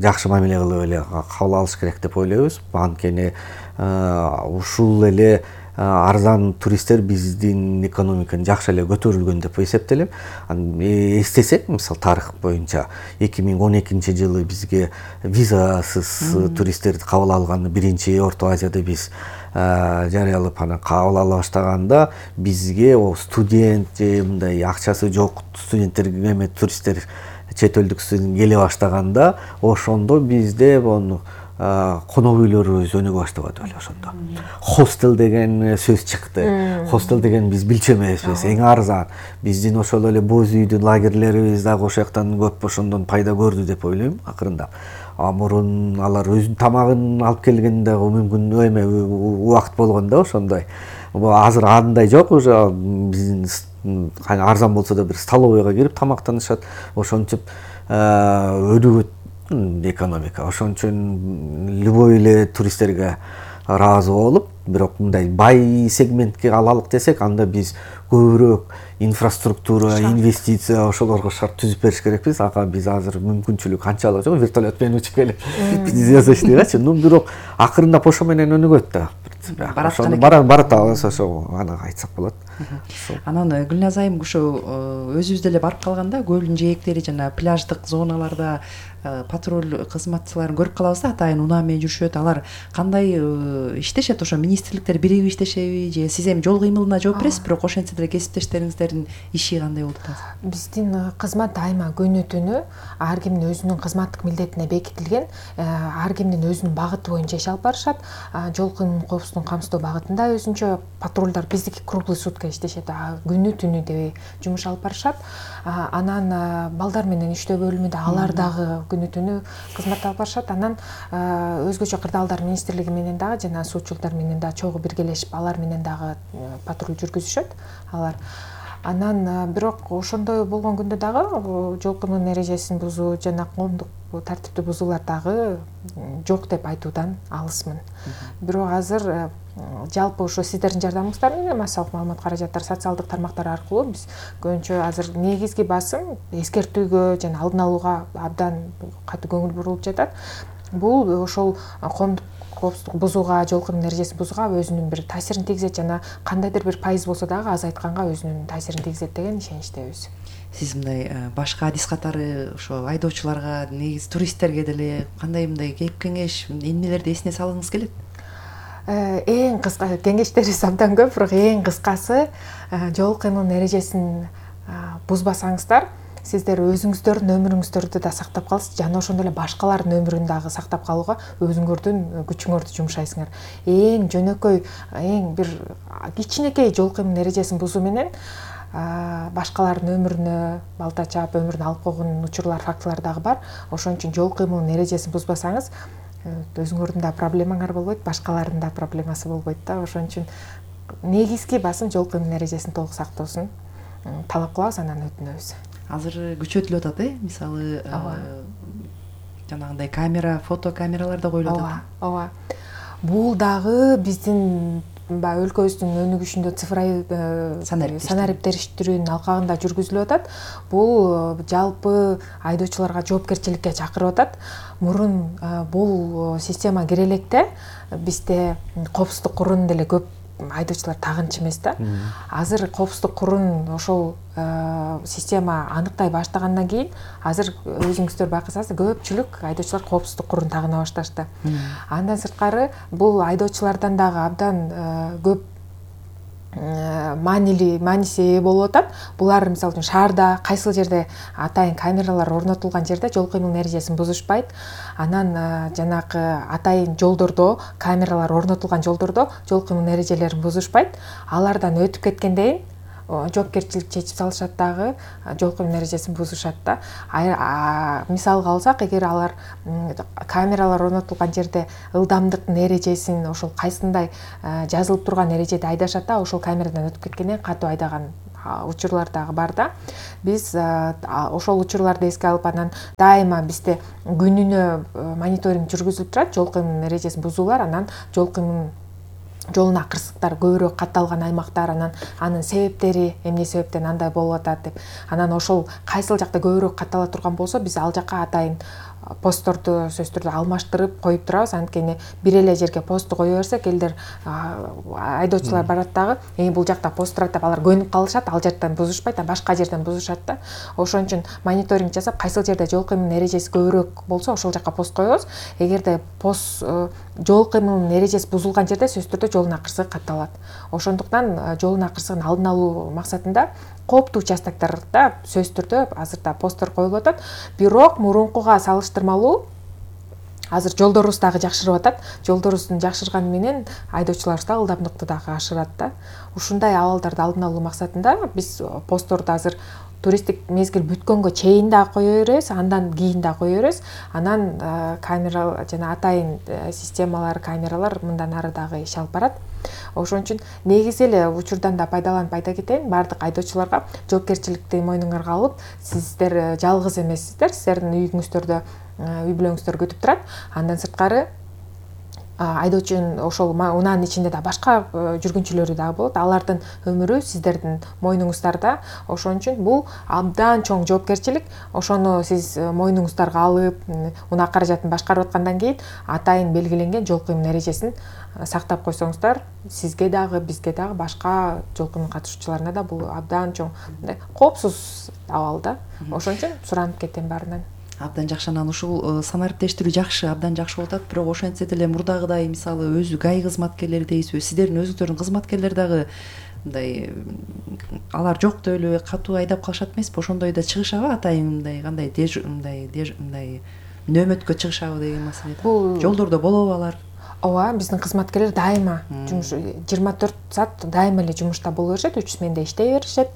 жакшы мамиле кылып эле кабыл алыш керек деп ойлойбуз. Анткени ушул эле арзан туристтер биздин экономиканы жакшы эле көтөрүлгөн деп эсептелем. Эстесек, мисалы тарых боюнча 2012-жылы бизге визасыз туристтерди кабыл алганы биринчи Орто Азияда биз жарыялап анан кабыл ала баштаганда бизге студент же мындай акчасы жок студенттерге эме туристтер чет элдик студент келе баштаганда ошондо бизде конок үйлөрүбүз өнүгө баштабады эле ошондо. Хостел деген сөз чыкты. Хостел деген биз билчү эмеспиз, эң арзан. Биздин ошол эле боз үйдүн лагерлерибиз дагы ошол жактан көп ошондон пайда көрдү деп ойлойм акырындап. Мурун алар өзүнүн тамагын алып келгенде мүмкүн эме убакыт болгон да ошондой. Азыр андай жок, уже биздин арзан болсо да бир столовыйга кирип тамактанышат. Ошончуп өнүгөт экономика. Ошон үчүн любой эле туристтерге ыраазы болуп, бирок мындай бай сегментке алалык десек, анда биз көбүрөөк инфраструктура, инвестиция ошолорго шарт түзүп бериш керекпиз. Ага биз азыр мүмкүнчүлүк канчалык жок, вертолет менен учуп келип биз жасаш дейбичи. Бирок акырындап ошо менен өнүгөт да. Барат ошо аны айтсак болот. Анан Гүлназ айым ошо өзүбүз деле барып калганда көлдүн жээктери жана пляждык зоналарда патруль кызматчыларын көрүп калабыз да, атайын унаа менен жүрүшөт. Алар кандай иштешет? Ошо министрликтер биригип иштешеби же сиз эми жол кыймылына жооп бересиз, бирок ошентсе деле кесиптештериңиздердин иши кандай болуп атат? Биздин кызмат дайыма күнү түнү ар кимдин өзүнүн кызматтык милдетине бекитилген, ар кимдин өзүнүн багыты боюнча иш алып барышат. Жол кыймылынын коопсуздугун камсыздоо багытында өзүнчө патрулдар биздики круглый сутка иштешет, күнү түнү деп жумуш алып барышат. Анан балдар менен иштөө бөлүмүндө алар дагы күнү түнү кызмат алып барышат. Анан өзгөчө кырдаалдар министрлиги менен дагы жана суутчулуктар менен дагы чогуу биргелешип алар менен дагы патруль жүргүзүшөт алар. Анан бирок ошондой болгон күндө дагы жол кыймылынын эрежесин бузуу жана коомдук тартипти бузуулар дагы жок деп айтуудан алысмын. Бирок азыр жалпы ошо сиздердин жардамыңыздар менен массалык маалымат каражаттары, социалдык тармактар аркылуу биз көбүнчө азыр негизги басым эскертүүгө жана алдын алууга абдан катуу көңүл бурулуп жатат. Бул ошол коомдук коопсуздук бузууга, жол кыймылынын эрежесин бузууга өзүнүн бир таасирин тийгизет жана кандайдыр бир пайыз болсо дагы азайтканга өзүнүн таасирин тийгизет деген ишеничтебиз. Сиз мындай башка адис катары ошо айдоочуларга, негизи туристтерге деле кандай мындай кеп кеңеш, эмнелерди эсине салгыңыз келет? Эң кыска кеңештерибиз абдан көп, бирок эң кыскасы жол кыймылынын эрежесин бузбасаңыздар, сиздер өзүңүздөрдүн өмүрүңүздөрдү да сактап каласыз, жана ошондой эле башкалардын өмүрүн дагы сактап калууга өзүңөрдүн күчүңөрдү жумшайсыңар. Эң жөнөкөй, эң бир кичинекей жол кыймылынын эрежесин бузуу менен башкалардын өмүрүнө балта чаап өмүрүн алып койгон учурлар, фактылар дагы бар. Ошон үчүн жол кыймылынын эрежесин бузбасаңыз өзүңөрдүн да проблемаңар болбойт, башкалардын да проблемасы болбойт да. Ошон үчүн негизги басым жол кыймыл эрежесин толук сактоосун талап кылабыз, анан өтүнөбүз. Азыр күчөтүлүп атат, мисалы жанагындай камера, фото камералар да коюлуп атат. Ооба. Бул дагы биздин баягы өлкөбүздүн өнүгүшүндө цифровой санариптештирүүнүн алкагында жүргүзүлүп атат. Бул жалпы айдоочуларга жоопкерчиликке чакырып атат. Мурун бул система кире электе бизде коопсуздук курун деле көп айдоочулар тагынчу эмес да. Азыр коопсуздук курун ошол система аныктай баштагандан кийин азыр өзүңүздөр байкасаңыз көпчүлүк айдоочулар коопсуздук курун тагына башташты. Андан сырткары бул айдоочулардан дагы абдан көп мааниси ээ болуп атат. Булар мисалы үчүн шаарда кайсыл жерде атайын камералар орнотулган жерде жол кыймыл эрежесин бузушпайт. Анан жанагы атайын жолдордо камералар орнотулган жолдордо жол кыймыл эрежелерин бузушпайт. Алардан өтүп кеткенден жоопкерчилик чечип салышат дагы, жол кыймыл эрежесин бузушат да. Мисалга алсак, эгер алар камералар орнотулган жерде ылдамдыктын эрежесин ошол кайсындай жазылып турган эрежеде айдашат да, ошол камерадан өтүп кеткенден катуу айдаган учурлар дагы бар да. Биз ошол учурларды эске алып, анан дайыма бизде күнүнө мониторинг жүргүзүлүп турат, жол кыймыл эрежесин бузуулар, анан жол кыймыл жолуна кырсыктар көбүрөөк катталган аймактар, анан анын себептери эмне себептен андай болуп атат деп. Анан ошол кайсыл жакта көбүрөөк каттала турган болсо, биз ал жакка атайын постторду сөзсүз түрдө алмаштырып коюп турабыз. Анткени бир эле жерге посту кое берсек, элдер айдоочулар барат дагы, бул жакта пост турат деп алар көнүп калышат, ал жерден бузушпайт, башка жерден бузушат да. Ошон үчүн мониторинг жасап, кайсыл жерде жол кыймыл эрежеси көбүрөөк болсо, ошол жакка пост коебуз. Эгерде пост жол кыймыл эрежеси бузулган жерде сөзсүз түрдө жолуна кырсык катталат. Ошондуктан жолуна кырсыгын алдын алуу максатында кооптуу участоктарда сөзсүз түрдө азырда посттор коюлуп атат. Бирок мурункуга салыштырмалуу азыр жолдорубуз дагы жакшырып атат. Жолдорубуздун жакшырганы менен айдоочуларыбыз да ылдамдыкты дагы ашырат да. Ушундай абалдарды алдын алуу максатында биз постторду азыр туристтик мезгил бүткөнгө чейин да кое беребиз, андан кийин да кое беребиз. Анан камера жана атайын системалар, камералар мындан ары дагы иш алып барат. Ошон үчүн негизи эле учурдан да пайдаланып айта кетейин, баардык айдоочуларга жоопкерчиликти мойнуңарга алып, сиздер жалгыз эмессиздер, сиздердин үйүңүздөрдө үй бүлөңүздөр күтүп турат. Андан сырткары айдоочунун ошол унаанын ичинде да башка жүргүнчүлөрү дагы болот. Алардын өмүрү сиздердин мойнуңуздарда. Ошон үчүн бул абдан чоң жоопкерчилик. Ошону сиз мойнуңуздарга алып, унаа каражатын башкарып аткандан кийин атайын белгиленген жол кыймыл эрежесин сактап койсоңуздар, сизге дагы, бизге дагы, башка жол кыймыл катышуучуларына да бул абдан чоң коопсуз абал да. Ошон үчүн суранып кетем баарынан. Абдан жакшы. Анан ушул санариптештирүү жакшы, абдан жакшы болуп атат. Бирок ошентсе деле мурдагыдай, мисалы, өзү ГАИ кызматкерлери дейсизби, сиздердин өзүңүздөрдүн кызматкерлер дагы мындай алар жок деп эле катуу айдап калышат эмеспи? Ошондой да чыгышабы атайын мындай кандай мындай нөөмөткө чыгышабы деген маселе. Жолдордо болобу алар? Ооба, биздин кызматкерлер дайыма жумуш 24 саат дайыма эле жумушта боло беришет, 3 сменде иштей беришет.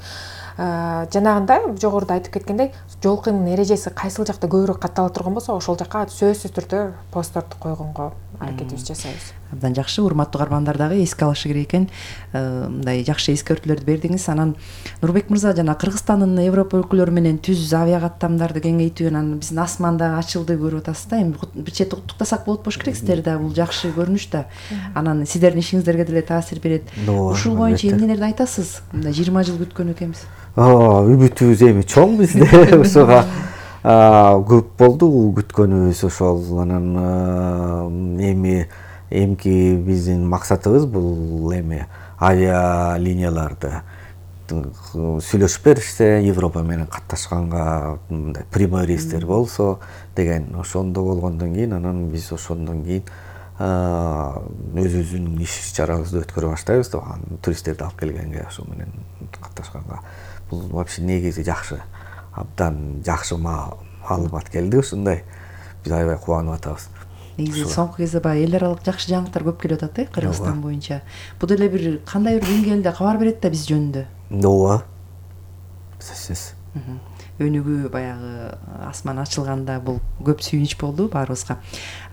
Жанагындай жогоруда айтып кеткендей, жол кыймыл эрежеси кайсыл жакта көбүрөөк каттала турган болсо, ошол жакка сөзсүз түрдө постторду койгонго аракетибизди жасайбыз. Абдан жакшы. Урматтуу каармандар дагы эске алышы керек экен. Мындай жакшы эскертүүлөрдү бердиңиз. Анан Нурбек мырза, жана Кыргызстандын Европа өлкөлөрү менен түз авиа каттамдарды кеңейтүү, анан биздин асман дагы ачылды көрүп атасыз да. Эми бир чети уктуктасак болот болуш керек, сиздер да бул жакшы көрүнүш да. Анан сиздердин ишиңиздерге деле таасир берет. Ушул боюнча эмнелерди айтасыз? Мындай 20 жыл күткөн экенбиз. Үмүтүбүз эми чоң бизде. Ошого көп болду күткөнүбүз ошол. Анан эмки биздин максатыбыз бул эми авиалинияларды сүйлөшүп беришсе, Европа менен катташканга мындай прямой рейстер болсо деген, ошондо болгондон кийин анан биз ошондон кийин өзүбүздүн иш чарабызды өткөрө баштайбыз да, туристтерди алып келгенге, ошо менен катташканга. Бул вообще негизи жакшы, абдан жакшы маалымат келди ушундай. Биз аябай кубанып атабыз. Негизи соңку кезде баягы эл аралык жакшы жаңылыктар көп келип атат Кыргызстан боюнча. Бул деле бир кандай бир деңгээлде кабар берет да биз жөнүндө. Ооба. Сөзсүз. өнүгүү баягы асман ачылганда бул көп сүйүнүч болду баарыбызга.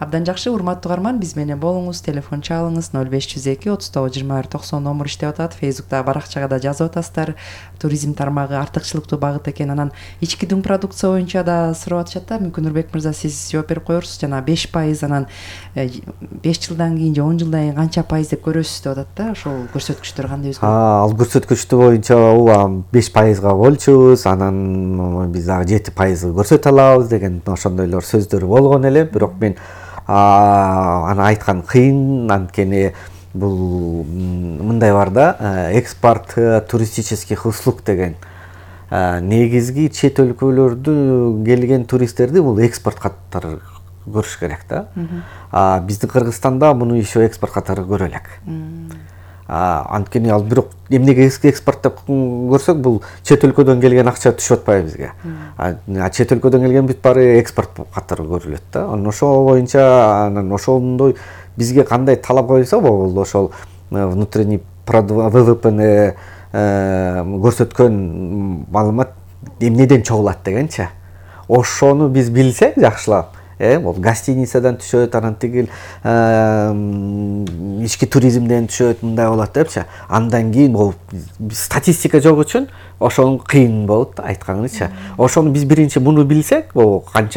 Абдан жакшы, урматтуу угарман, биз менен болуңуз, телефон чалыңыз 0502 39 21 90 номер иштеп атат. Фейсбуктагы баракчага да жазып атасыздар. Туризм тармагы артыкчылыктуу багыт экен. Анан ички дүң продукция боюнча да сурап атышат да. Мүмкүн Нурбек мырза сиз жооп берип коерсуз. Жана 5%, анан 5 жылдан кийин же 10 жылдан кийин канча пайыз деп көрөсүз деп атат да. Ошол көрсөткүчтөр кандай өзгөрөт? Ал көрсөткүчтөр боюнча 5%га бөлчүбүз, анан биз дагы 7% көрсөтө алабыз деген ошондойлор сөздөр болгон эле. Бирок мен аны айткан кыйын, анткени бул мындай бар да, экспорт туристических услуг деген негизги чет өлкөлөрдү келген туристтерди бул экспорт катары көрүш керек да. Биздин Кыргызстанда муну еще экспорт катары көрө элек. Анткени ал бирок эмнеге экспорт деп көрсөк, бул чет өлкөдөн келген акча түшүп атпайбы бизге. Чет өлкөдөн келген бүт баары экспорт катары көрүлөт да. Анан ошол боюнча, анан ошондой бизге кандай талап коюлса, бул ошол внутренний ВВПны көрсөткөн маалымат эмнеден чогулат дегенчи. Ошону биз билсек жакшылап, бул гостиницадан түшөт, анан тигил ички туризмден түшөт, мындай болот депчи. Андан кийин бул статистика жок үчүн ошону кыйын болот айтканыңызча. Ошону биз биринчи муну билсек, бул канча